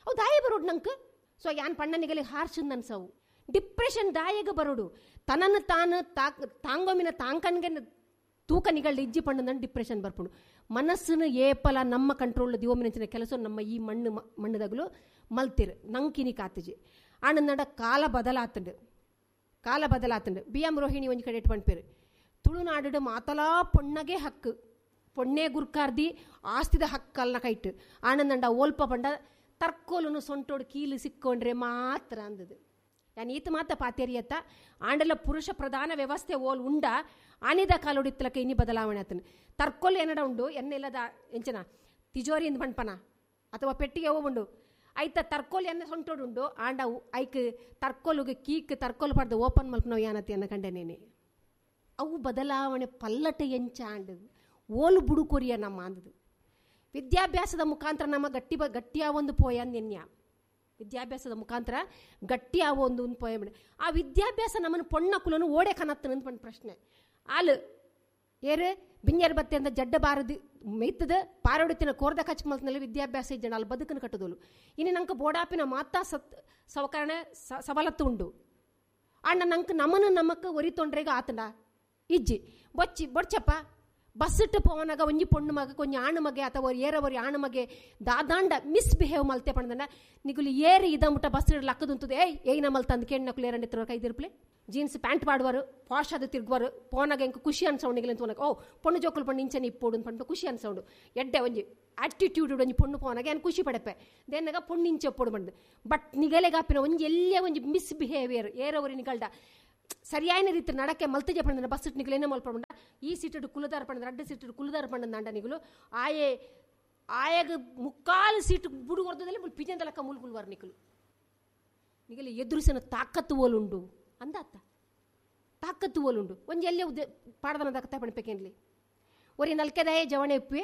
ಅವು ದಾಯ ಬರೋಡು ನಂಗೆ. ಸೊ ಯಾನ್ ಪಣ್ಣ ನಿಗಲಿ ಹಾರ್ಷನ್ ಅನ್ಸವು ಡಿಪ್ರೆಷನ್ ದಾಯಗ ಬರೋಡು. ತನ್ನನ್ನು ತಾನು ತಾಂಗೊಮಿನ ತಾಂಕನ್ಗೆ ತೂಕ ನಿಗಳ್ದ ಇಜ್ಜಿ ಪಂಡಂದ ಡಿಪ್ರೆಷನ್ ಬರ್ಪುಂಡು. ಮನಸ್ಸನ್ನು ಏಪಲ ನಮ್ಮ ಕಂಟ್ರೋಲ್ ದಿವಮಿನ ಕೆಲಸ ನಮ್ಮ ಈ ಮಣ್ಣು ಮಣ್ಣುದಗಲು ಮಲ್ತಿರು ನಂಕಿನಿ ಕಾತಜಿ. ಆನಂದ ಕಾಲ ಬದಲಾತಂಡು ಕಾಲ ಬದಲಾತಂಡು. ಬಿ ಎಂ ರೋಹಿಣಿ ಒಂಜಿ ಕಡೆ ಪಣ್ಪೇರು ತುಳುನಾಡು ಮಾತಲಾ ಪೊಣ್ಣಗೆ ಹಕ್ಕು, ಪೊಣ್ಣೆ ಗುರ್ಕಾರ್ದಿ ಆಸ್ತಿದ ಹಕ್ಕಲ್ನ ಕೈಟು. ಆನಂದಂಡ ಓಲ್ಪ ಪಂಡ ತರ್ಕೋಲನು ಸೊಂಟೋಡು ಕೀಲು ಸಿಕ್ಕೊಂಡ್ರೆ ಮಾತ್ರ ಅಂದದು. ಯಾನ್ ಈತ ಮಾತ ಪಾತೇರಿಯತ್ತ ಆಂಡಲ ಪುರುಷ ಪ್ರಧಾನ ವ್ಯವಸ್ಥೆ ಓಲ್ ಉಂಡ ಆನಿದ ಕಾಲೊಡಿತ್ತಲಕ ಇನ್ನಿ ಬದಲಾವಣೆ ಆತನು. ತರ್ಕೋಲ್ ಏನಡ ಉಂಡು ಎನ್ನೆಲ್ಲದ ಎಂಚನ ತಿಜೋರಿ ಇಂದ ಪಣ್ಪನ ಅಥವಾ ಪೆಟ್ಟಿಗೆ ಉಂಡು ಐತ ತರ್ಕೋಲ್ ಎನ್ನ ಸೊಂಟೋಡುಂಡು ಆಂಡ ಐಕ್ ತರ್ಕೋಲುಗೆ ಕೀಕ್ ತರ್ಕೋಲು ಪಡ್ದು ಓಪನ್ ಮಲ್ಪನವು ಯಾನತಿ ಅನ್ನ ಕಂಡೆನೇನೆ. ಅವು ಬದಲಾವಣೆ ಪಲ್ಲಟ ಎಂಚಾಂಡು ಓಲು ಬುಡುಕೊರಿಯ ನಮ್ಮ ಅಂದದು. ವಿದ್ಯಾಭ್ಯಾಸದ ಮುಖಾಂತರ ನಮ್ಮ ಗಟ್ಟಿ ಬ ಗಟ್ಟಿಯ ಒಂದು ಪೋಯ ನೆನ್ಯ ವಿದ್ಯಾಭ್ಯಾಸದ ಮುಖಾಂತರ ಗಟ್ಟಿ ಆವೋ ಒಂದು ಒಂದು ಪೋಯ. ಆ ವಿದ್ಯಾಭ್ಯಾಸ ನಮ್ಮನ್ನು ಪೊಣ್ಣ ಕುಲನು ಓಡೆ ಕನತ್ತನ ಅಂತ ಒಂದು ಪ್ರಶ್ನೆ. ಆಲು ಏರು ಬಿಂಜರ್ ಬತ್ತೆ ಅಂತ ಜಡ್ಡ ಬಾರದು ಮೇಯ್ತದ ಪಾರೋಡಿತಿನ ಕೋರ್ದ ಕಚ್ ಮಲ್ತಿನಲ್ಲಿ ವಿದ್ಯಾಭ್ಯಾಸ ಇಜ್ಜಣ ಅಲ್ಲಿ ಬದುಕನ್ನು ಕಟ್ಟದೋಲು. ಇನ್ನು ನಂಗೆ ಬೋಡಾಪಿನ ಮಾತಾ ಸತ್ ಸವಕರಣ ಸವಲತ್ತು ಉಂಡು. ಅಣ್ಣ ನಂಗೆ ನಮ್ಮನ್ನು ನಮಕ್ ಒರಿ ತೊಂಡ್ರೆಗ ಆತಂಡ ಇಜ್ಜಿ ಬೊಚ್ಚಿ ಬೊಡ್ಚಪ್ಪ ಬಸ್ಸಿಟ್ಟು ಪೋವನಾಗ ಒಂಜಿ ಪೊಣ್ಣು ಮಗ ಕೊಂಜಿ ಆಣು ಮಗೆ ಅಥವಾ ಏರವರಿ ಆಣು ಮಗೆ ದಾದಾಂಡ ಮಿಸ್ಬಿಹೇವ್ ಮಲ್ತೆ ಪಂಡನ ನಿಗುಲು ಏರಿ ಇದ ಮುಟ್ಟ ಬಸ್ ಲಕ್ಕದುಂತದೆ ಏಯ್ ಏಯ್ನ ಮಲ್ತಂದು ಕೆಣ್ಣಕ್ಲು ಏರಂಡಿತ್ರ ಕೈದಿರ್ಪ್ಲೆ ಜೀನ್ಸ್ ಪ್ಯಾಂಟ್ ಪಾಡುವರು ಪಾಶ್ ಅದು ತಿರುಗುವರು ಪೋನಾಗ ಎಂಕ ಖುಷಿ ಅನ್ಸೌಂಡ್ ಅಂತ ಓ ಪೊಣ್ಣು ಜೋಕುಲು ಪಣ್ಣು ಇಂಚನೆ ಇಪ್ಪೋಡು ಅಂತ ಪಂಡ ಖುಷಿ ಅನ್ಸೌಂಡು ಎಡ್ಡೆ ಒಂಜಿ ಆಟಿಟ್ಯೂಡ್ ಒಂಜಿ ಪೊಣ್ಣು ಪೋನಾಗ ಏನು ಖುಷಿ ಪಡಪೆ ದೇನಾಗ ಪೊಣ್ಣು ಇಂಚೆ ಒಪ್ಪೋಡು ಬಂದು ಬಟ್ ನಿಗಲೆಗಾಪಿನ ಒಂಜಿ ಎಲ್ಲೇ ಒಂಜಿ ಮಿಸ್ಬಿಹೇವಿಯರ್ ಏರವರಿ ನಿಗಲ್ಡ ಸರಿಯಾದ ರೀತಿ ನಡಕೆ ಮಲ್ತಜೆ ಪಂಡ ಬಸ್ ನಿಗಲು ಏನೇ ಮಲ್ಪಂಡ ಈ ಸೀಟು ಕುಲದಾರ ಪಂಡ ರಡ್ಡು ಸೀಟು ಕುಲದಾರ ಪಂಡ ನಿಗಲು ಆಯೆ ಆಯಾಗ ಮುಕ್ಕಾಲು ಸೀಟು ಬುಡು ಹೊರದಲ್ಲಿ ಪಿಜಂದಲಕ್ಕ ಮುಲ್ಕುಲ್ವಾರ ನಿಕಲು ನಿಗಲು ಎದುರಿಸಿನ ತಾಕತ್ತು ಓಲುಂಡು ಅಂದಾತ ತಾಕತ್ತು ಓಲುಂಡು ಒಂಜಿ ಎಲ್ಲೇ ಉದ್ದೆ ಪಾಡದನ ದಕ್ಕತ್ತ ಪಣಪೇಕೇನ್ಲಿ ಒರಿ ನಲ್ಕೆದಾಯೇ ಜವಣೆ ಇಪ್ಪೆ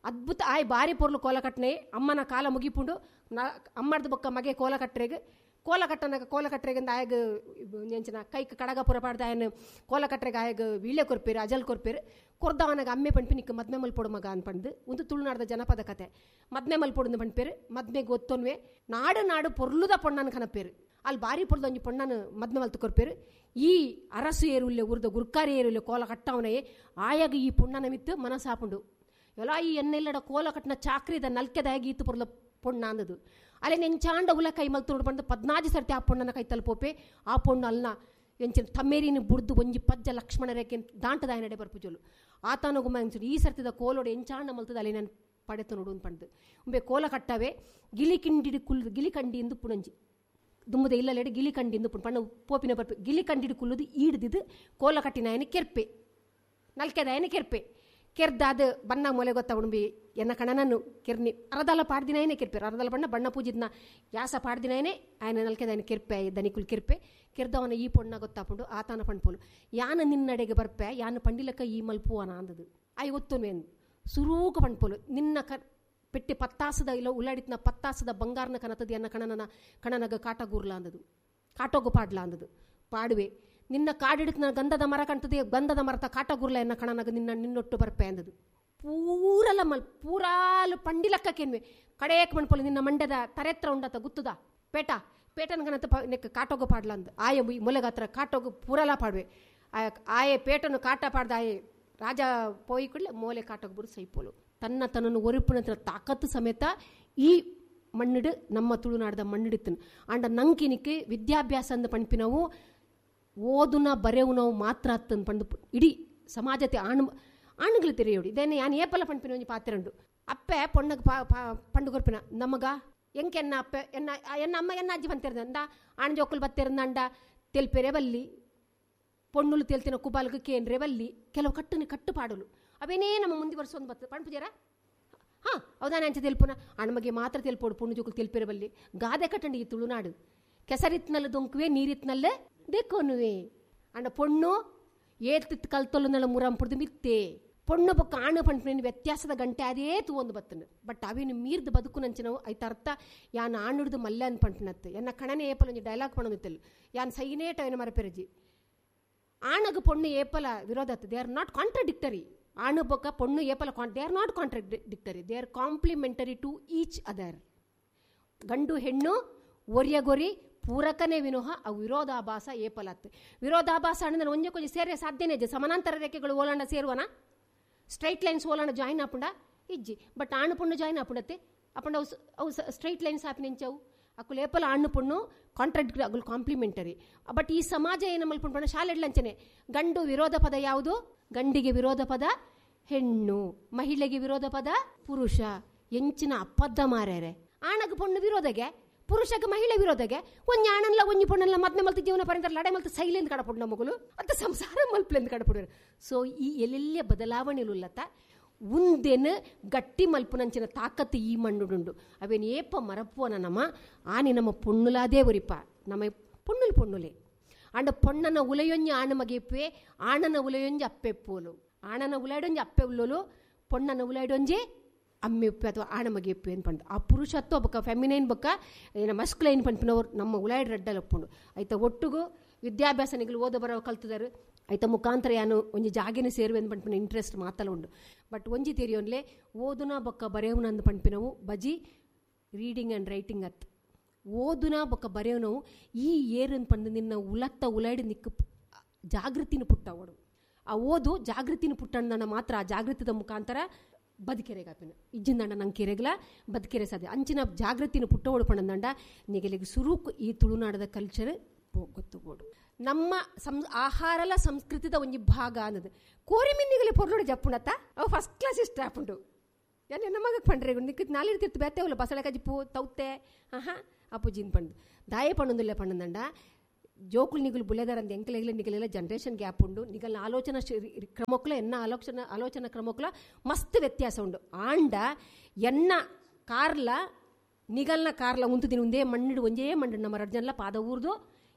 ಅದ್ಭುತ ಆಯ್ ಬಾರಿ ಪೊರ್ಲು ಕೋಲ ಕಟ್ಟನೆ ಅಮ್ಮನ ಕಾಲ ಮುಗಿಪುಂಡು ನ ಅಮ್ಮರ್ದ ಬೊಕ್ಕ ಮಗೆ ಕೋಲ ಕಟ್ಟರೆಗೆ ಕೋಲ ಕಟ್ಟನಾಗ ಕೋಲ ಕಟ್ಟರೆಗಿಂದ ಆಯಗ ಎಂಚಿನ ಕೈಕ್ ಕಡಗ ಪುರ ಪಾಡ್ದ ಆಯನ ಕೋಲ ಕಟ್ಟರೆಗೆ ಆಯಗ ವೀಳ್ಯ ಕೊರ್ಪೇರು ಅಜಲ್ ಕೊರ್ಪೇರು ಕೊರ್ದವನಾಗ ಅಮ್ಮೆ ಪಣ್ಪಿ ನಿಕ್ಕ ಮದ್ಮೆ ಮಲ್ಪೊಡು ಮಗ ಅನ್ಪಂದು ಒಂದು ತುಳುನಾಡ್ದ ಜನಪದ ಕತೆ ಮದ್ಮೆ ಮಲ್ಪೊಡು ಪಣ್ಪೇರು ಮದ್ಮೆಗೆ ಒತ್ತೊನ್ವೆ ನಾಡು ನಾಡು ಪೊರ್ಲುದ ಪೊಣ್ಣನ ಕನಪೇರು ಅಲ್ಲಿ ಬಾರಿ ಪೊರ್ದ ಒಂಜಿ ಪೊಣ್ಣನ ಮದ್ಮೆ ಮಲ್ತು ಕೊರ್ಪೇರು ಈ ಅರಸು ಏರುಲ್ಲೆ ಉರ್ದ ಗುರ್ಕಾರಿ ಏರುಲ್ಲೆ ಕೋಲ ಕಟ್ಟವನೇ ಆಯಾಗ ಈ ಪೊಣ್ಣನ ಮಿತ್ತು ಮನಸ್ಸಾಪುಂಡು ಎಲ್ಲ ಈ ಎನ್ನೆಲ್ಲಡ ಕೋಲ ಕಟ್ಟನ ಚಾಕ್ರಿದ ನಲ್ಕೆದಾಗಿ ಈತು ಪೊರ್ಲ ಪೊಣ್ಣ ಅಂದದು ಅಲ್ಲಿ ನೆಂಚಾಂಡ ಉಲ ಕೈ ಮಲ್ತು ನೋಡು ಪದ್ನಾಜಿ ಸರ್ತಿ ಆ ಪೊಣ್ಣನ ಕೈ ತಲುಪೋಪೆ ಆ ಪೊಣ್ಣು ಅಲ್ನ ಎಂಚಿನ ತಮ್ಮೇರಿನ ಬುಡ್ದು ಒಂಜಿ ಪಜ್ಜ ಲಕ್ಷ್ಮಣ ರೇಖೆ ದಾಂಟದಾಯ ನಡೆ ಬರ್ಪುಜೋಲು ಆತನ ಗುಮ್ಮ ಎಂಚು ಈ ಸರ್ತಿದ ಕೋಲೋಡು ಎಂಚಾಂಡ ಮಲ್ತದ ಅಲ್ಲಿ ನಾನು ಪಡೆತು ನೋಡು ಅಂತ ಪಂಡ್ದು ಉಂಬೆ ಕೋಲ ಕಟ್ಟವೆ ಗಿಲಿ ಕಿಂಡಿಡಿ ಕುಲ್ ಗಿಲಿ ಕಂಡಿ ಎಂದು ಪುಣಂಜಿ ದುಮ್ಮದ ಇಲ್ಲಲೆಡೆ ಗಿಲಿ ಕಂಡಿಂದು ಪುಣ್ ಪಣ್ಣ ಪೋಪಿನ ಬರ್ಪೆ ಗಿಲಿ ಕಂಡಿಡಿ ಕುಲ್ಲುದು ಈಡ್ದಿದ್ದು ಕೋಲ ಕಟ್ಟಿನಾಯನ ಕೆರ್ಪೆ ನಲ್ಕೆದಾಯನ ಕೆರ್ಪೆ ಕೆರ್ದಾದ ಬಣ್ಣ ಮೊಲೆ ಗೊತ್ತ ಉಣಬಿ ಎನ್ನ ಕಣನನ್ನು ಕೆರ್ನಿ ಅರದಾಲ ಪಾಡ್ದಿನಾಯನೇ ಕೆರ್ಪೆ ಅರದಾಲ ಬಣ್ಣ ಬಣ್ಣ ಪೂಜಿದ್ನ ಯಾಸ ಪಾಡ್ದಿನಾಯನೇ ఆయన ನಲ್ಕೆದಾಯನ ಕೆರ್ಪೆ ದನಿಕುಲ್ ಕೆರ್ಪೆ ಕೆರ್ದವನ ಈ ಪೊಣ್ಣ ಗೊತ್ತಾಪುಂಡು ಆತನ ಪಣ್ಪೋಲು ಯಾನ ನಿನ್ನಡೆಗೆ ಬರ್ಪೆ ಯಾನ ಪಂಡಿಲಕ್ಕ ಈ ಮಲ್ಪುವನ ಅಂದದು ಆಯ್ ಒತ್ತುನ್ವೇನು ಸುರೂಕ ಪಣ್ಪೋಲು ನಿನ್ನ ಕ ಪೆಟ್ಟಿ ಪತ್ತಾಸದ ಇಲ್ಲ ಉಳ್ಳಾಡಿತ್ನ ಪತ್ತಾಸದ ಬಂಗಾರನ ಕನತದ ಎನ್ನ ಕಣನನ ಕಣನಗ ಕಾಟಗೂರ್ಲ ಅಂದದು ಕಾಟೋಗು ಪಾಡ್ಲ ಅಂದದು ಪಾಡುವೆ ನಿನ್ನ ಕಾಡಿಡ್ತು ನನ್ನ ಗಂಧದ ಮರ ಕಾಣ್ತದೆ ಗಂಧದ ಮರತ ಕಾಟಗುರ್ಲ ಎನ್ನ ಕಣನಗ ನಿನ್ನ ನಿನ್ನೊಟ್ಟು ಬರ್ಪೆ ಅಂದದು ಪೂರಲ ಮಲ್ ಪೂರಾಲು ಪಂಡಿಲಕ್ಕೇನ್ವೆ ಕಡೇಕ್ ಮಣ್ಪೋಲು ನಿನ್ನ ಮಂಡ್ಯದ ತರೆತ್ರ ಉಂಡತ ಗುತ್ತದ ಪೇಟ ಪೇಟನ ಕಣತ ನೆಕ್ ಕಾಟೋಗು ಪಾಡ್ಲ ಅಂದ ಆಯ ಮೊಲೆಗಾತ್ರ ಕಾಟೋಗು ಪೂರಲ ಪಾಡುವೆ ಆಯೆ ಪೇಟನು ಕಾಟ ಪಾಡ್ದ ಆಯೆ ರಾಜ ಪೋಯಿ ಕೂಡಲೇ ಮೋಲೆ ಕಾಟೋಗು ಬರು ಸೈಪೋಲು ತನ್ನ ತನ್ನನ್ನು ಒರಿಪಿನ ತಾಕತ್ತು ಸಮೇತ ಈ ಮಣ್ಣಿಡು ನಮ್ಮ ತುಳುನಾಡದ ಮಣ್ಣಿಡುತ್ತನು ಅಂಡ ನಂಕಿನಿಕ್ಕೆ ವಿದ್ಯಾಭ್ಯಾಸ ಅಂದ ಪಣ್ಪಿನವು ಓದುನ ಬರೆವು ನಾವು ಮಾತ್ರ ಅತ್ತಂದು ಪಂಡು ಇಡೀ ಸಮಾಜತೆ ಆಣು ಆಣುಗಳು ತೆರೆಯೋಡು ಇದೇನೆ ಯಾನ್ ಏಪಲ ಪಣ್ಪಿನ ಒಂಜಿ ಪಾತ್ರೆಂಡು ಅಪ್ಪೆ ಪೊಣ್ಣಗೆ ಪಾ ಪಂಡು ಕೊರ್ಪಿನ ನಮಗ ಎಂಕೆನ್ನ ಅಪ್ಪೆ ಎನ್ನ ಎನ್ನ ಅಮ್ಮ ಎನ್ನ ಅಜ್ಜಿ ಬಂತಿರ್ದಂಡ ಆಣ್ ಜೋಕುಲು ಬತ್ತಿರಂದಂಡ ತೆಲ್ಪೆರೆ ಬಲ್ಲಿ ಪೊಣ್ಣುಲು ತೆಲ್ತಿನ ಕುಬಾಲ್ಗೆ ಕೇಂದ್ರೆ ಬಲ್ಲಿ ಕೆಲವು ಕಟ್ಟುನಿ ಕಟ್ಟು ಪಾಡಲು ಅವೇನೇ ನಮ್ಮ ಮುಂದೆ ವರ್ಷ ಒಂದು ಬರ್ತದೆ ಪಣ್ಪುಜಾರ ಹಾಂ ಹೌದಾನೆ ಅಂಚೆ ತೆಲ್ಪುನ ಅಣ್ಮಗೆ ಮಾತ್ರ ತೆಲ್ಪೋಡು ಪೊಣ್ಣು ಜೋಕುಲು ತೆಲ್ಪೆರೆ ಬಲ್ಲಿ ಗಾದೆ ಕಟ್ಟಂಡಿ ಈ ತುಳುನಾಡು ಕೆಸರಿತ್ನಲ್ಲ ದೊಂಕುವೆ ನೀರಿತ್ನಲ್ಲೇ ದೇಕೋನುವೆ. ಅಂಡ ಪೊಣ್ಣು ಏತ್ ಕಲ್ತೊಲ್ಲುನಳ ಮುರಂಪುಡ್ದು ಮಿತ್ತೆ ಪೊಣ್ಣು ಬೊಕ್ಕ ಆಣು ಪಂಪಿನ ವ್ಯತ್ಯಾಸದ ಗಂಟೆ ಅದೇ ತೂವೊಂದು ಬತ್ತನು. ಬಟ್ ಅವೇನು ಮೀರ್ದು ಬದುಕು ನಂಚಿನವು ಐತ ಅರ್ಥ ಯಾನ್ ಆಣುಡ್ದು ಮಲ್ಲೆ ಅನ್ ಪಂಪಿನತ್ತು ಎನ್ನ ಕಣನೆ ಏಪಲ ಒಂಜಿ ಡೈಲಾಗ್ ಪಣೊಂದಿತ್ತಲ್ ಯಾನ್ ಸೈನೇಟ ಅವೇನು ಮರಪೆರಜಿ. ಆಣಗ ಪೊಣ್ಣು ಏಪಲ ವಿರೋಧ they are not contradictory. ಆಣು ಬೊಕ್ಕ ಪೊಣ್ಣು ಏಪಲ they are not contradictory, they are complementary to each other. ಗಂಡು ಹೆಣ್ಣು ಒರಿಯಗೊರಿ ಪೂರಕನೇ ವಿನೋಹ ಅವು ವಿರೋಧಾಭಾಸ ಏಪಲತ್ತು. ವಿರೋಧಾಭಾಸ ಅಂದ್ರೆ ಒಂಜೆ ಕೊಂಚ ಸೇರೆ ಸಾಧ್ಯನೇ ಇಜ್ಜಿ. ಸಮಾನಾಂತರ ರೇಖೆಗಳು ಓಲಾಂಡ ಸೇರುವನ, ಸ್ಟ್ರೈಟ್ ಲೈನ್ಸ್ ಓಲಾಂಡ ಜಾಯಿನ್ ಆಪುಂಡ ಇಜ್ಜಿ. ಬಟ್ ಆಣು ಪೊಣ್ಣು ಜಾಯಿನ್ ಆಪುಂಡತ್ತೆ ಅಪ್ಪಂಡ ಅವು ಅವು ಸ್ಟ್ರೈಟ್ ಲೈನ್ಸ್ ಆಪಿ ನಿಂಚವು ಅಕ್ಕುಲು ಏಪಲ ಆಣು ಪೊಣ್ಣು ಕಾಂಟ್ರಾಡಿಕ್ಟರಿ ಅಗುಲು ಕಾಂಪ್ಲಿಮೆಂಟರಿ. ಬಟ್ ಈ ಸಮಾಜ ಏನು ಮಲ್ಪುಂಡು ಶಾಲೆಡ್ಲಂಚನೆ ಗಂಡು ವಿರೋಧ ಪದ ಯಾವುದು? ಗಂಡಿಗೆ ವಿರೋಧ ಪದ ಹೆಣ್ಣು, ಮಹಿಳೆಗೆ ವಿರೋಧ ಪದ ಪುರುಷ. ಎಂಚಿನ ಅಪ್ಪದ್ದ ಮಾರ್ಯಾರೆ. ಆಣಗ ಪೊಣ್ಣು ವಿರೋಧಗೆ, ಪುರುಷಗೆ ಮಹಿಳೆ ವಿರೋಧಗೆ. ಒಂಜಿ ಆಣನ್ಲ ಒಂಜಿ ಪೊಣ್ಣನ್ಲ ಮದ್ನೆ ಮಲ್ತು ಜೀವನ ಪರ್ಯಂತ ಲಡೆ ಮಲ್ತು ಸೈಲೆಂದು ಕಡಪುಡು ಮಗಳು ಅಂತ ಸಂಸಾರ ಮಲ್ಪಲೆಂದು ಕಡಪುಡು. ಸೊ ಈ ಎಲ್ಲೆಲ್ಲ ಬದಲಾವಣೆಲುಲ್ಲತ ಉಂದೆನು ಗಟ್ಟಿ ಮಲ್ಪುನಂಚಿನ ತಾಕತ್ತು ಈ ಮಣ್ಣುಡುಂಡು. ಅವೇನು ಏಪ ಮರಪ್ಪುವನ ನಮ್ಮ ಆನೆ ನಮ್ಮ ಪೊಣ್ಣುಲಾದೇ ಒರಿಪ. ನಮ್ಮ ಪೊಣ್ಣುಲು ಪೊಣ್ಣುಲೆ ಅಂಡ ಪೊಣ್ಣನ ಉಲೆಯೊಂಜಿ ಆಣ ಮಗೆಪ್ಪೆ, ಆಣನ ಉಲೆಯೊಂಜಿ ಅಪ್ಪೆಪ್ಪೋಲು. ಆಣನ ಉಲಾಡೊಂಜಿ ಅಪ್ಪೆ ಉಲ್ಲೋಲು, ಪೊಣ್ಣನ ಉಲಾಡೊಂಜಿ ಅಮ್ಮೆ ಉಪ್ಪೆ ಅಥವಾ ಆಣ ಮಗೆಪ್ಪೆ ಅಂತ ಪಂಡು. ಆ ಪುರುಷತ್ವ ಬೊಕ್ಕ ಫೆಮಿನೈನ್ ಬೊಕ್ಕ ಏನ ಮಸ್ಕ್ಲೈನ್ ಪಂಪಿನವ್ರು ನಮ್ಮ ಉಲಾಯ್ಡ್ ರಡ್ಡಲ್ಲಿ ಒಪ್ಪುಂಡು. ಐತ ಒಟ್ಟುಗು ವಿದ್ಯಾಭ್ಯಾಸ ನಿಗಲು ಓದ ಬರೋ ಕಲ್ತದಾರು. ಐತ ಮುಖಾಂತರ ಯಾನು ಒಂಜಿ ಜಾಗಿನ ಸೇರುವೆ ಅಂತ ಪಂಪಿನ ಇಂಟ್ರೆಸ್ಟ್ ಮಾತಲ್ಲ ಉಂಡು. ಬಟ್ ಒಂಜಿ ತೆರಿಯೋನ್ಲೆ ಓದುನ ಬೊಕ್ಕ ಬರೆಯವನ ಅಂದ್ ಪಂಪಿನವು ಬಜಿ ರೀಡಿಂಗ್ ಆ್ಯಂಡ್ ರೈಟಿಂಗ್ ಅತ್. ಓದುನ ಬೊಕ್ಕ ಬರೆಯವನವು ಈ ಏರನ್ ಪಂಡು ನಿನ್ನ ಉಲತ್ತ ಉಲಾಯ್ಡ್ ನಿಕ್ಕ ಜಾಗೃತಿನ ಪುಟ್ಟವಡು. ಆ ಓದು ಜಾಗೃತಿನ ಪುಟ್ಟಣ್ಣ ಮಾತ್ರ ಆ ಜಾಗೃತಿದ ಮುಖಾಂತರ ಬದುಕೆರೆಗಾಪಿನ ಇಜ್ಜಿಂದಂಡ ನಂಗೆ ಕೆರೆಗ್ಲ ಬದುಕೆರೆ ಸಾಧ್ಯ. ಅಂಚಿನ ಜಾಗೃತಿನ ಪುಟ್ಟವಡು ಪಂಡಂದಂಡ ನಿಗಲಿಗೆ ಸುರುಕು ಈ ತುಳುನಾಡದ ಕಲ್ಚರ್ ಗೊತ್ತುಬೋಡು. ನಮ್ಮ ಸಂ ಆಹಾರಲ ಸಂಸ್ಕೃತಿದ ಒಂಜಿ ಭಾಗ ಅನ್ನೋದು. ಕೋರಿ ಮಿನ್ನಿಗಲಿ ಪೊರ್ಲೋಡು ಜಪ್ಪುಣತ್ತ ಅವು ಫಸ್ಟ್ ಕ್ಲಾಸ್ ಇಷ್ಟ ಆಪುಂಡು. ಯಾನ್ ನಮಗ ಪಂಡ್ರೆ ನಿಕ್ಕ ನಾಲಿರ್ತಿರ್ತು ಬೇತೆವಲ್ಲ ಬಸಳೆ ಕಜಿಪು ತೌತೆ ಆಹಾ ಅಪ್ಪುಜಿನ್ ಪಂಡು ದಾಯೆ ಪಣ್ಣೊಂದುಲ್ಲೆ ಪಣ್ಣಂದಂಡ ಜೋಕುಲು ನಿಗುಲು ಬುಲೆದಾರಂದ ಎಂಕಲೆಗ್ಲ ನಿಗಲೆಲ್ಲ ಜನರೇಷನ್ ಗ್ಯಾಪ್ ಉಂಡು. ನಿಗಲ್ನ ಆಲೋಚನಾ ಕ್ರಮಕ್ಕಲ ಎನ್ನ ಆಲೋಚನಾ ಆಲೋಚನಾ ಕ್ರಮಕ್ಕಲ ಮಸ್ತ್ ವ್ಯತ್ಯಾಸ ಉಂಡು. ಆಂಡ ಎನ್ನ ಕಾರ್ಲ ನಿಗಲ್ನ ಕಾರ್ಲ ಉಂತುದಿನ ಒಂದೇ ಮಣ್ಣಿಡು ಒಂಜೇ ಮಣ್ಣು ನಮ್ಮ ರಡ್ಜನ್ಲ ಪಾದ ಊರ್ದು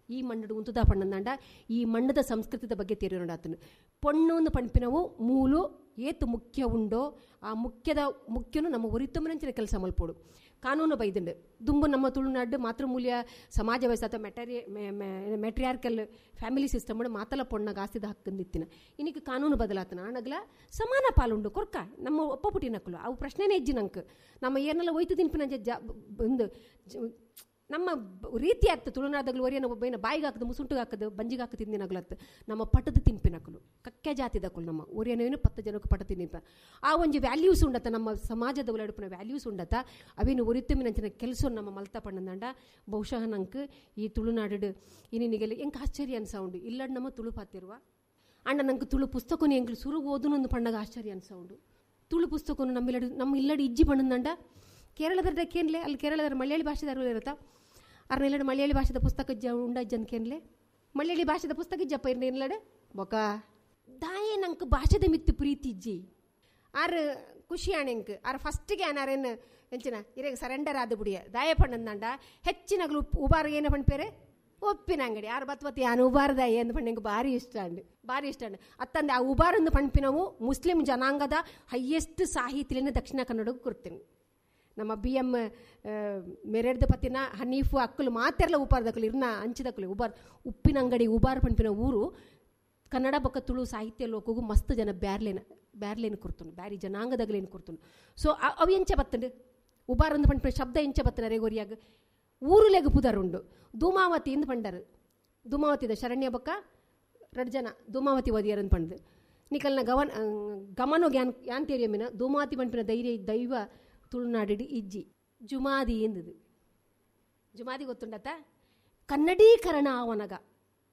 ಈ ಮಣ್ಣು ಉಂತುದ ಪಣ್ಣಂದಂಡ ಈ ಮಣ್ಣದ ಸಂಸ್ಕೃತಿದ ಬಗ್ಗೆ ತೆರಿಯೋಣಾತನು. ಪೊಣ್ಣು ಪಣ್ಪಿನವು ಮೂಲು ಏತು ಮುಖ್ಯ ಉಂಡೋ ಆ ಮುಖ್ಯದ ಮುಖ್ಯನು ನಮ್ಮ ಒರಿತೊಮ್ಮನಂಚಿನ ಕೆಲಸ ಮಲ್ಪೋಡು. ಕಾನೂನು ಬೈದುಂಡು ದುಂಬು ನಮ್ಮ ತುಳುನಾಡು ಮಾತೃಮೂಲ್ಯ ಸಮಾಜ ವ್ಯವಸ್ಥೆ ಅಥವಾ ಮೆಟರಿ ಮೆಟ್ರಿಯಾರ್ಕಲ್ ಫ್ಯಾಮಿಲಿ ಸಿಸ್ಟಮ್ ಮಾತಲ ಪೊಣ್ಣಗ ಆಸ್ತಿದ ಹಕ್ಕಂದಿತ್ತಿನ. ಇನ್ನಿಗೆ ಕಾನೂನು ಬದಲಾತನ ಆಣಗ್ಲ ಸಮಾನ ಪಾಲುಂಡು ಕೊರ್ಕ ನಮ್ಮ ಒಪ್ಪ ಪುಟಿನಕ್ಕಲು ಅವು ಪ್ರಶ್ನೆನೇ ಇಜ್ಜಿ ನಂಗೆ. ನಮ್ಮ ಏನೆಲ್ಲ ಒಯ್ತು ತಿನ್ಪಿನ ಜ ಒಂದು ನಮ್ಮ ರೀತಿ ಆಗ್ತದೆ ತುಳುನಾದಾಗಲು ಒರಿಯನ ಒಬ್ಬನ ಬಾಯಿಗೆ ಹಾಕದು ಮುಸುಂಟುಗೆ ಹಾಕದು ಬಂಜಿಗೆ ಹಾಕಿ ತಿಂದಿನಾಗ್ಲತ್ತು ನಮ್ಮ ಪಟದ ತಿನ್ಪಿನಕಲು ಕಕ್ಕೆ ಜಾತಿದಕ್ಕಲು ನಮ್ಮ ಒರಿಯನೇನು ಪತ್ತು ಜನಕ್ಕೆ ಪಟ ತಿನ್ನಿಪ ಆ ಒಂಜಿ ವ್ಯಾಲ್ಯೂಸ್ ಉಂಡತ ನಮ್ಮ ಸಮಾಜದ ಉಲಡುಪಿನ ವ್ಯಾಲ್ಯೂಸ್ ಉಂಡತ ಅವೇನು ಒರಿತುಮಿನಂಚಿನ ಕೆಲಸ ನಮ್ಮ ಮಲ್ತ ಪಣ್ಣಂದಂಡ ಬಹುಶಃ ನಂಗೆ ಈ ತುಳುನಾಡು ಇನ್ನಿನಿಗೆಲ್ಲ ಎಂಕ್ ಆಶ್ಚರ್ಯ ಅನ್ಸೌಂಡು ಇಲ್ಲಡ್ ನಮ್ಮ ತುಳು ಪಾತಿರುವ ಅಂಡ ನಂಗೆ ತುಳು ಪುಸ್ತಕನು ಎಂಕ್ಲು ಸುರು ಓದುನೊಂದು ಪಣ್ಣಗ ಆಶ್ಚರ್ಯ ಅನ್ಸೌಂಡು. ತುಳು ಪುಸ್ತಕನು ನಮ್ಮ ನಮ್ಮ ಇಲ್ಲಡ್ ಇಜ್ಜಿ ಪಣ್ಣಂದಂಡ ಕೇರಳದ ಕೇನ್ಲೆ ಅಲ್ಲಿ ಕೇರಳದ ಮಲಯಾಳಿ ಭಾಷೆದಾರು ಇರುತ್ತಾ ಅರ್ನೆಲ್ಲಡು ಮಲಯಾಳಿ ಭಾಷೆದ ಪುಸ್ತಕ ಇಜ್ಜ ಉಂಡ ಇಜ್ಜನ್ ಕೇನ್ಲೆ ಮಲಯಾಳಿ ಭಾಷೆದ ಪುಸ್ತಕ ಇಜ್ಜಪ್ಪ ಇರ್ನ ಇಲ್ಲಡೆ ಬೊಕ ದಾಯೆ ನಂಗೆ ಭಾಷೆದ ಮಿತ್ತು ಪ್ರೀತಿ ಇಜ್ಜಿ ಆರು ಖುಷಿ ಆಣೆಂಕ್ ಆರು ಫಸ್ಟಿಗೆ ಆನಾರೇನು ಎಂಚಿನ ಇರೇಗ ಸರೆಂಡರ್ ಆದ ಬುಡಿಯ ದಾಯ ಪಣ್ಣಂದಂಡ ಹೆಚ್ಚಿನಗಲು ಉಬಾರ ಏನ ಪಣ್ಪೇರೆ ಒಪ್ಪಿನ ಅಂಗಡಿ ಆರು ಬತ್ವತಿ ಯಾನು ಉಬಾರದಾಯ ಎಂದು ಪಣ್ಣಂಗೆ ಭಾರಿ ಇಷ್ಟ ಅಂಡು ಭಾರಿ ಇಷ್ಟ ಅಂಡು ಅತ್ತಂದೆ ಆ ಉಬಾರಂದು ಪಣ್ಪಿನವು ಮುಸ್ಲಿಂ ಜನಾಂಗದ ಹೈಯೆಸ್ಟ್ ಸಾಹಿತ್ಯನ ದಕ್ಷಿಣ ಕನ್ನಡಕ್ಕೆ ಕೊಡ್ತೀನಿ. ನಮ್ಮ ಬಿ ಎಮ್ ಮೆರೆಡ್ದ ಪತ್ತಿನ ಹನೀಫು ಅಕ್ಕಲು ಮಾತೆರ್ಲ ಉಪಾರದಕ್ಕಲು ಇರ್ನ ಅಂಚಿದಕ್ಕಲು ಉಬಾರ್ ಉಪ್ಪಿನ ಅಂಗಡಿ ಉಬಾರ್ ಪಣ್ಪಿನ ಊರು ಕನ್ನಡ ಬೊಕ್ಕ ತುಳು ಸಾಹಿತ್ಯ ಲೋಕಗೂ ಮಸ್ತ್ ಜನ ಬ್ಯಾರ್ಲೇನ ಬ್ಯಾರ್ಲೇನು ಕೊಡ್ತುನು ಬ್ಯಾರಿ ಜನಾಂಗದಾಗಲೇನು ಕೊಡ್ತುನು. ಸೊ ಅವು ಎಂಚ ಬತ್ತಂಡು ಉಬಾರ್ ಅಂದ್ ಪಣ್ಪಿನ ಶಬ್ದ ಎಂಚ ಬತ್ತನ ರೇಗೋರಿಯಾಗ ಊರುಲೆಗ್ ಪುದರುಂಡು. ಧೂಮಾವತಿ ಇಂದು ಪಂಡರು ಧೂಮಾವತಿದ ಶರಣ್ಯ ಬೊಕ್ಕ ರಡ್ ಜನ ಧೂಮಾವತಿ ಓದಿಯರ್ ಅಂದ್ ಪಂಡ್ದು ನಿಕಲ್ನ ಗವನ್ ಗಮನೋ ಗ್ಯಾನ್ ಯಾನ್ ತೇರಿಯಮ್ಮಿನ ಧೂಮಾವತಿ ಪಣ್ಪಿನ ಧೈರ್ಯ ದೈವ ತುಳುನಾಡು ಇಜ್ಜಿ ಜುಮಾದಿ ಎಂದದು ಜುಮಾದಿ ಗೊತ್ತುಂಡತ ಕನ್ನಡೀಕರಣ ಆವನಗ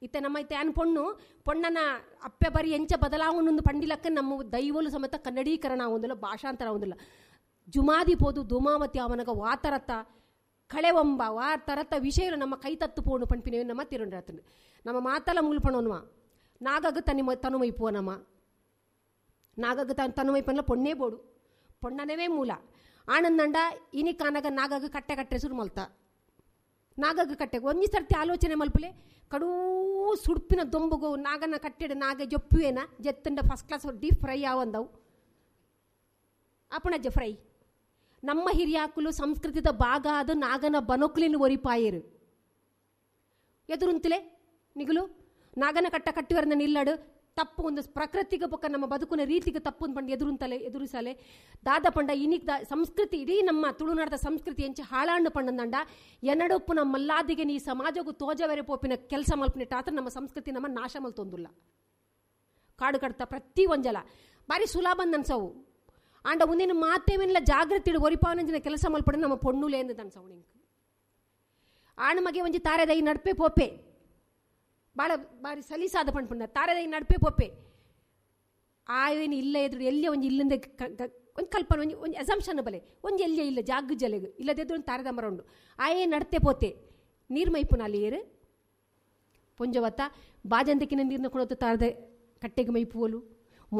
ಇತ್ತ ನಮ್ಮ ಇತ್ತ ಯಾನ್ ಪೊಣ್ಣು ಪೊಣ್ಣನ ಅಪ್ಪೆ ಬರಿ ಎಂಚ ಬದಲಾವಣೆ ಪಂಡಿಲಕ್ಕ ನಮ್ಮ ದೈವಲು ಸಮೇತ ಕನ್ನಡೀಕರಣ ಆವೊಂದಿಲ್ಲ ಭಾಷಾಂತರ ಆವೊಂದಿಲ್ಲ. ಜುಮಾದಿ ಪೋದು ಧೂಮಾವತಿ ಆವನಗ ವಾತರತ ಕಳೆವಂಬ ವಾ ತರತ ವಿಷಯ ನಮ್ಮ ಕೈ ತತ್ತು ಪೋಣು ಪಣ್ಪಿನ ನಮ್ಮ ತಿರುಂಡಾತಂಡು ನಮ್ಮ ಮಾತಲ ಮುಲ್ಪಣೋನ್ವ ನಾಗಗ ತನಿ ತನುಮೈಪುವ ನಮ್ಮ ನಾಗಗ ತನ್ ತನುಮೈಪನ್ಲ ಪೊಣ್ಣೇ ಬೋಡು ಪೊಣ್ಣನವೇ ಮೂಲ ಆನಂದಂಡ ಇನಿ ಕಾನಗ ನಾಗಗ ಕಟ್ಟೆ ಕಟ್ಟೆ ಸುರು ಮಲ್ತ ನಾಗಗ ಕಟ್ಟೆಗೆ ಒಂಜಿ ಸರ್ತಿ ಆಲೋಚನೆ ಮಲ್ಪಲೆ ಕಡೂ ಸುಡ್ಪಿನ ದೊಂಬುಗು ನಾಗನ ಕಟ್ಟೆಡು ನಾಗ ಜೊಪ್ಪುವೇನ ಜೆತ್ತಂಡ ಫಸ್ಟ್ ಕ್ಲಾಸ್ ಡೀಪ್ ಫ್ರೈ ಆವಂದವು ಅಪಣಜ್ಜ ಫ್ರೈ. ನಮ್ಮ ಹಿರಿಯಾಕುಲು ಸಂಸ್ಕೃತಿದ ಭಾಗ ಅದು ನಾಗನ ಬನೊಕ್ಲಿನ ಒರಿಪಾಯರು ಎದುರುಂತಲೆ ನಿಗುಲು ನಾಗನ ಕಟ್ಟ ಕಟ್ಟುವರನ್ನ ನಿಲ್ಲಡು ತಪ್ಪು ಒಂದು ಪ್ರಕೃತಿಗೆ ಬೊಕ್ಕ ನಮ್ಮ ಬದುಕುನ ರೀತಿಗೆ ತಪ್ಪು ಪಂಡ ಎದುರುಂತಲೆ ಎದುರಿಸಲೆ ದಾದ ಪಂಡ ಇನಿಕ್ the ಸಂಸ್ಕೃತಿ ಇಡೀ ನಮ್ಮ ತುಳುನಾಡದ ಸಂಸ್ಕೃತಿ ಎಂಚ ಹಾಳಾಂಡು ಪಂಡಂದಂಡ ಎನ್ನಡೊಪ್ಪು ನಮ್ಮ ಮಲ್ಲಾದಿಗೆ ನೀ ಸಮಾಜಗೂ ತೋಜವೆರೆ ಪೋಪಿನ ಕೆಲಸ ಮಲ್ಪಿನಿಟ್ಟಾತ್ರ ನಮ್ಮ ಸಂಸ್ಕೃತಿ ನಮ್ಮ ನಾಶ ಮಲ್ತೊಂದುಲ್ಲ. ಕಾಡು ಕಡ್ತ ಪ್ರತಿ ಒಂಜಲ ಬಾರಿ ಸುಲಭ ಅನ್ಸವು ಆಂಡ ಒಂದಿನ ಮಾತೇವೆಲ್ಲ ಜಾಗೃತಿ ಒರಿಪಾವನಂಜಿನ ಕೆಲಸ ಮಲ್ಪಡ ನಮ್ಮ ಪೊಣ್ಣುಲೇಂದು ಅನ್ಸವು ನಿಂಗೆ. ಆಣ ಮಗೆ ಒಂಜಿ ತಾರೆದೈ ನಡ್ಪೆ ಪೋಪೆ ಭಾಳ ಬಾರಿ ಸಲೀಸಾದ ಪಂಡ್ಪಂಡ ತಾರೆದೈ ನಡ್ಪೆ ಪೋಪೆ ಆವೇನು ಇಲ್ಲ ಎದುರು ಎಲ್ಲಿ ಒಂಜಿ ಇಲ್ಲಂದೆ ಒಂದು ಕಲ್ಪನೆ ಒಂಜಿ ಒಂಜಿ ಅಸಂಪ್ಷನ್ ಬಲೆ ಒಂಜಿ ಎಲ್ಲಿಯೇ ಇಲ್ಲ ಜಾಗ ಜಲೆಗು ಇಲ್ಲದೆದ್ರು ಒಂದು ತಾರೆದ ಮರ ಉಂಡು ಆಯೇ ನಡ್ತೆ ಪೋತೆ ನೀರು ಮೈಪುನ ಅಲ್ಲಿ ಏರು ಪೊಂಜವತ್ತ ಬಾಜಂತಕ್ಕಿನ ನೀರನ್ನ ಕೊಡೋದು ತಾರದ ಕಟ್ಟೆಗೆ ಮೈಪುವಲು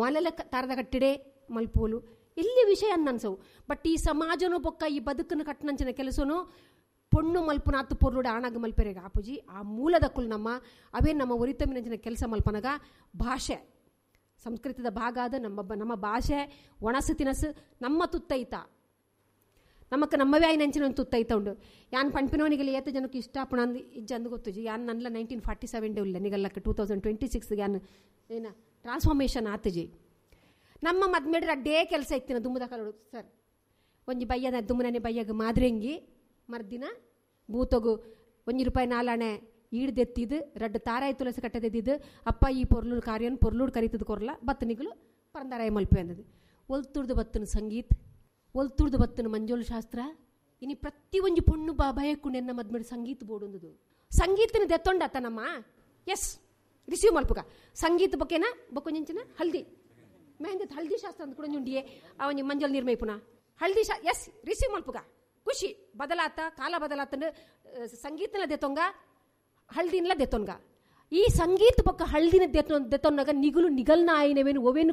ಮೊಲೆಲ್ಲ ತಾರದ ಕಟ್ಟೆಡೆ ಮಲ್ಪುವಲು ಎಲ್ಲಿ ವಿಷಯ ಅನ್ಸವು. ಬಟ್ ಈ ಸಮಾಜನೂ ಬೊಕ್ಕ ಈ ಬದುಕನ್ನು ಕಟ್ಟನಂಚಿನ ಕೆಲಸನೂ ಪೊಣ್ಣು ಮಲ್ಪುನ ಆತು ಪೊರ್ಲುಡ ಆಣಾಗ ಮಲ್ಪೆರೆಗ ಆಪುಜಿ ಆ ಮೂಲದಕ್ಕುಲ್ ನಮ್ಮ ಅವೇ ನಮ್ಮ ಒರಿತಮ್ಮಿನಂಚಿನ ಕೆಲಸ ಮಲ್ಪನಗ ಭಾಷೆ ಸಂಸ್ಕೃತದ ಭಾಗ ಆದ ನಮ್ಮ ನಮ್ಮ ಭಾಷೆ ಒಣಸು ತಿನಸು ನಮ್ಮ ತುತ್ತೈತ ನಮಕ್ ನಮ್ಮವೇ ಆಯ್ನಂಚಿನ ಒಂದು ತುತ್ತೈತ ಉಂಡು. ಯಾನ್ ಪಂಪಿನವನಿಗೆಲ್ಲ ಏತ ಜನಕ್ಕೆ ಇಷ್ಟ ಪುಣ ಅಂದು ಇಜ್ಜ ಅಂದು ಗೊತ್ತುಜಿ. ಯಾನ್ ನನ್ನ ನೈನ್ಟೀನ್ ಫಾರ್ಟಿ ಸೆವೆನ್ ಡೇ ಇಲ್ಲ ನಿಗಲ್ಲಕ್ಕೆ ಟೂ ತೌಸಂಡ್ ಟ್ವೆಂಟಿ ಸಿಕ್ಸ್ ಯಾನ್ ಏನ ಟ್ರಾನ್ಸ್ಫಾರ್ಮೇಷನ್ ಆತಜಿ. ನಮ್ಮ ಮದ್ಮೇಡ್ರ ಅಡ್ಡೇ ಕೆಲಸ ಇತ್ತಿನ ದುಮ್ಮದ ಕಲೋಡು ಸರ್ ಒಂಜಿ ಬಯ್ಯದ ದುಮ್ಮನೆ ಬಯ್ಯಗ ಮಾದ್ರೆಂಗಿ ಮರ್ದಿನ ಬೂತಗು ಒಂಜಿ ರೂಪಾಯಿ ನಾಲಾಣೆ ಈಡ್ದೆತ್ತಿದ್ದು ರಡ್ಡು ತಾರಾಯಿ ತುಳಸಿ ಕಟ್ಟದೆದ್ದಿದ್ದು ಅಪ್ಪ ಈ ಪೊರ್ಲೂರು ಕಾರ್ಯನ್ ಪೊರ್ಲೂರು ಕರಿತದ ಕೊರ್ಲ ಬತ್ತನಿಗಳು ಪರಂದಾರಾಯ ಮಲ್ಪೆ ಅಂದದು. ಒಲ್ತುರ್ದು ಬತ್ತನ ಸಂಗೀತ ಒಲ್ತುರ್ದು ಬತ್ತನ ಮಂಜೋಲು ಶಾಸ್ತ್ರ ಇನಿ ಪ್ರತಿ ಒಂಜಿ ಪೊಣ್ಣು ಬಾ ಭಯಕ್ಕು ನೆನ್ನ ಮದ್ಮೇಡು ಸಂಗೀತ ಬೋಡೊಂದುದು ಸಂಗೀತನ ದೆತ್ತೊಂಡತ್ತ ನಮ್ಮ ಎಸ್ ರಿಸೀವ್ ಮಲ್ಪುಗ ಸಂಗೀತ ಬೊಕ್ಕೆನ ಬೊಕ್ಕೊಂಜಿನ ಹಲ್ದಿ ಮೆಹಂದಿ ಹಲ್ದಿ ಶಾಸ್ತ್ರ ಅಂದ್ ಕೂಡ ಉಂಡಿಯೇ ಅವನಿ ಮಂಜಲ್ ನಿರ್ಮೈಪುನ ಹಲ್ದಿ ಶಾ ಎಸ್ ರಿಸೀವ್ ಮಲ್ಪುಗ ಖುಷಿ ಬದಲಾತ ಕಾಲ ಬದಲಾತನ ಸಂಗೀತನ ದೆತ್ತೊಂಗ ಹಲ್ದಿನ್ಲ ದೆತ್ತೊಂಗ ಈ ಸಂಗೀತ ಬೊಕ್ಕ ಹಲ್ದಿನ ದೆತ್ತೊ ದೆತ್ತೊನ್ನಾಗ ನಿಗುಲು ನಿಗಲ್ನ ಆಯಿನವೇನು ಒವೇನು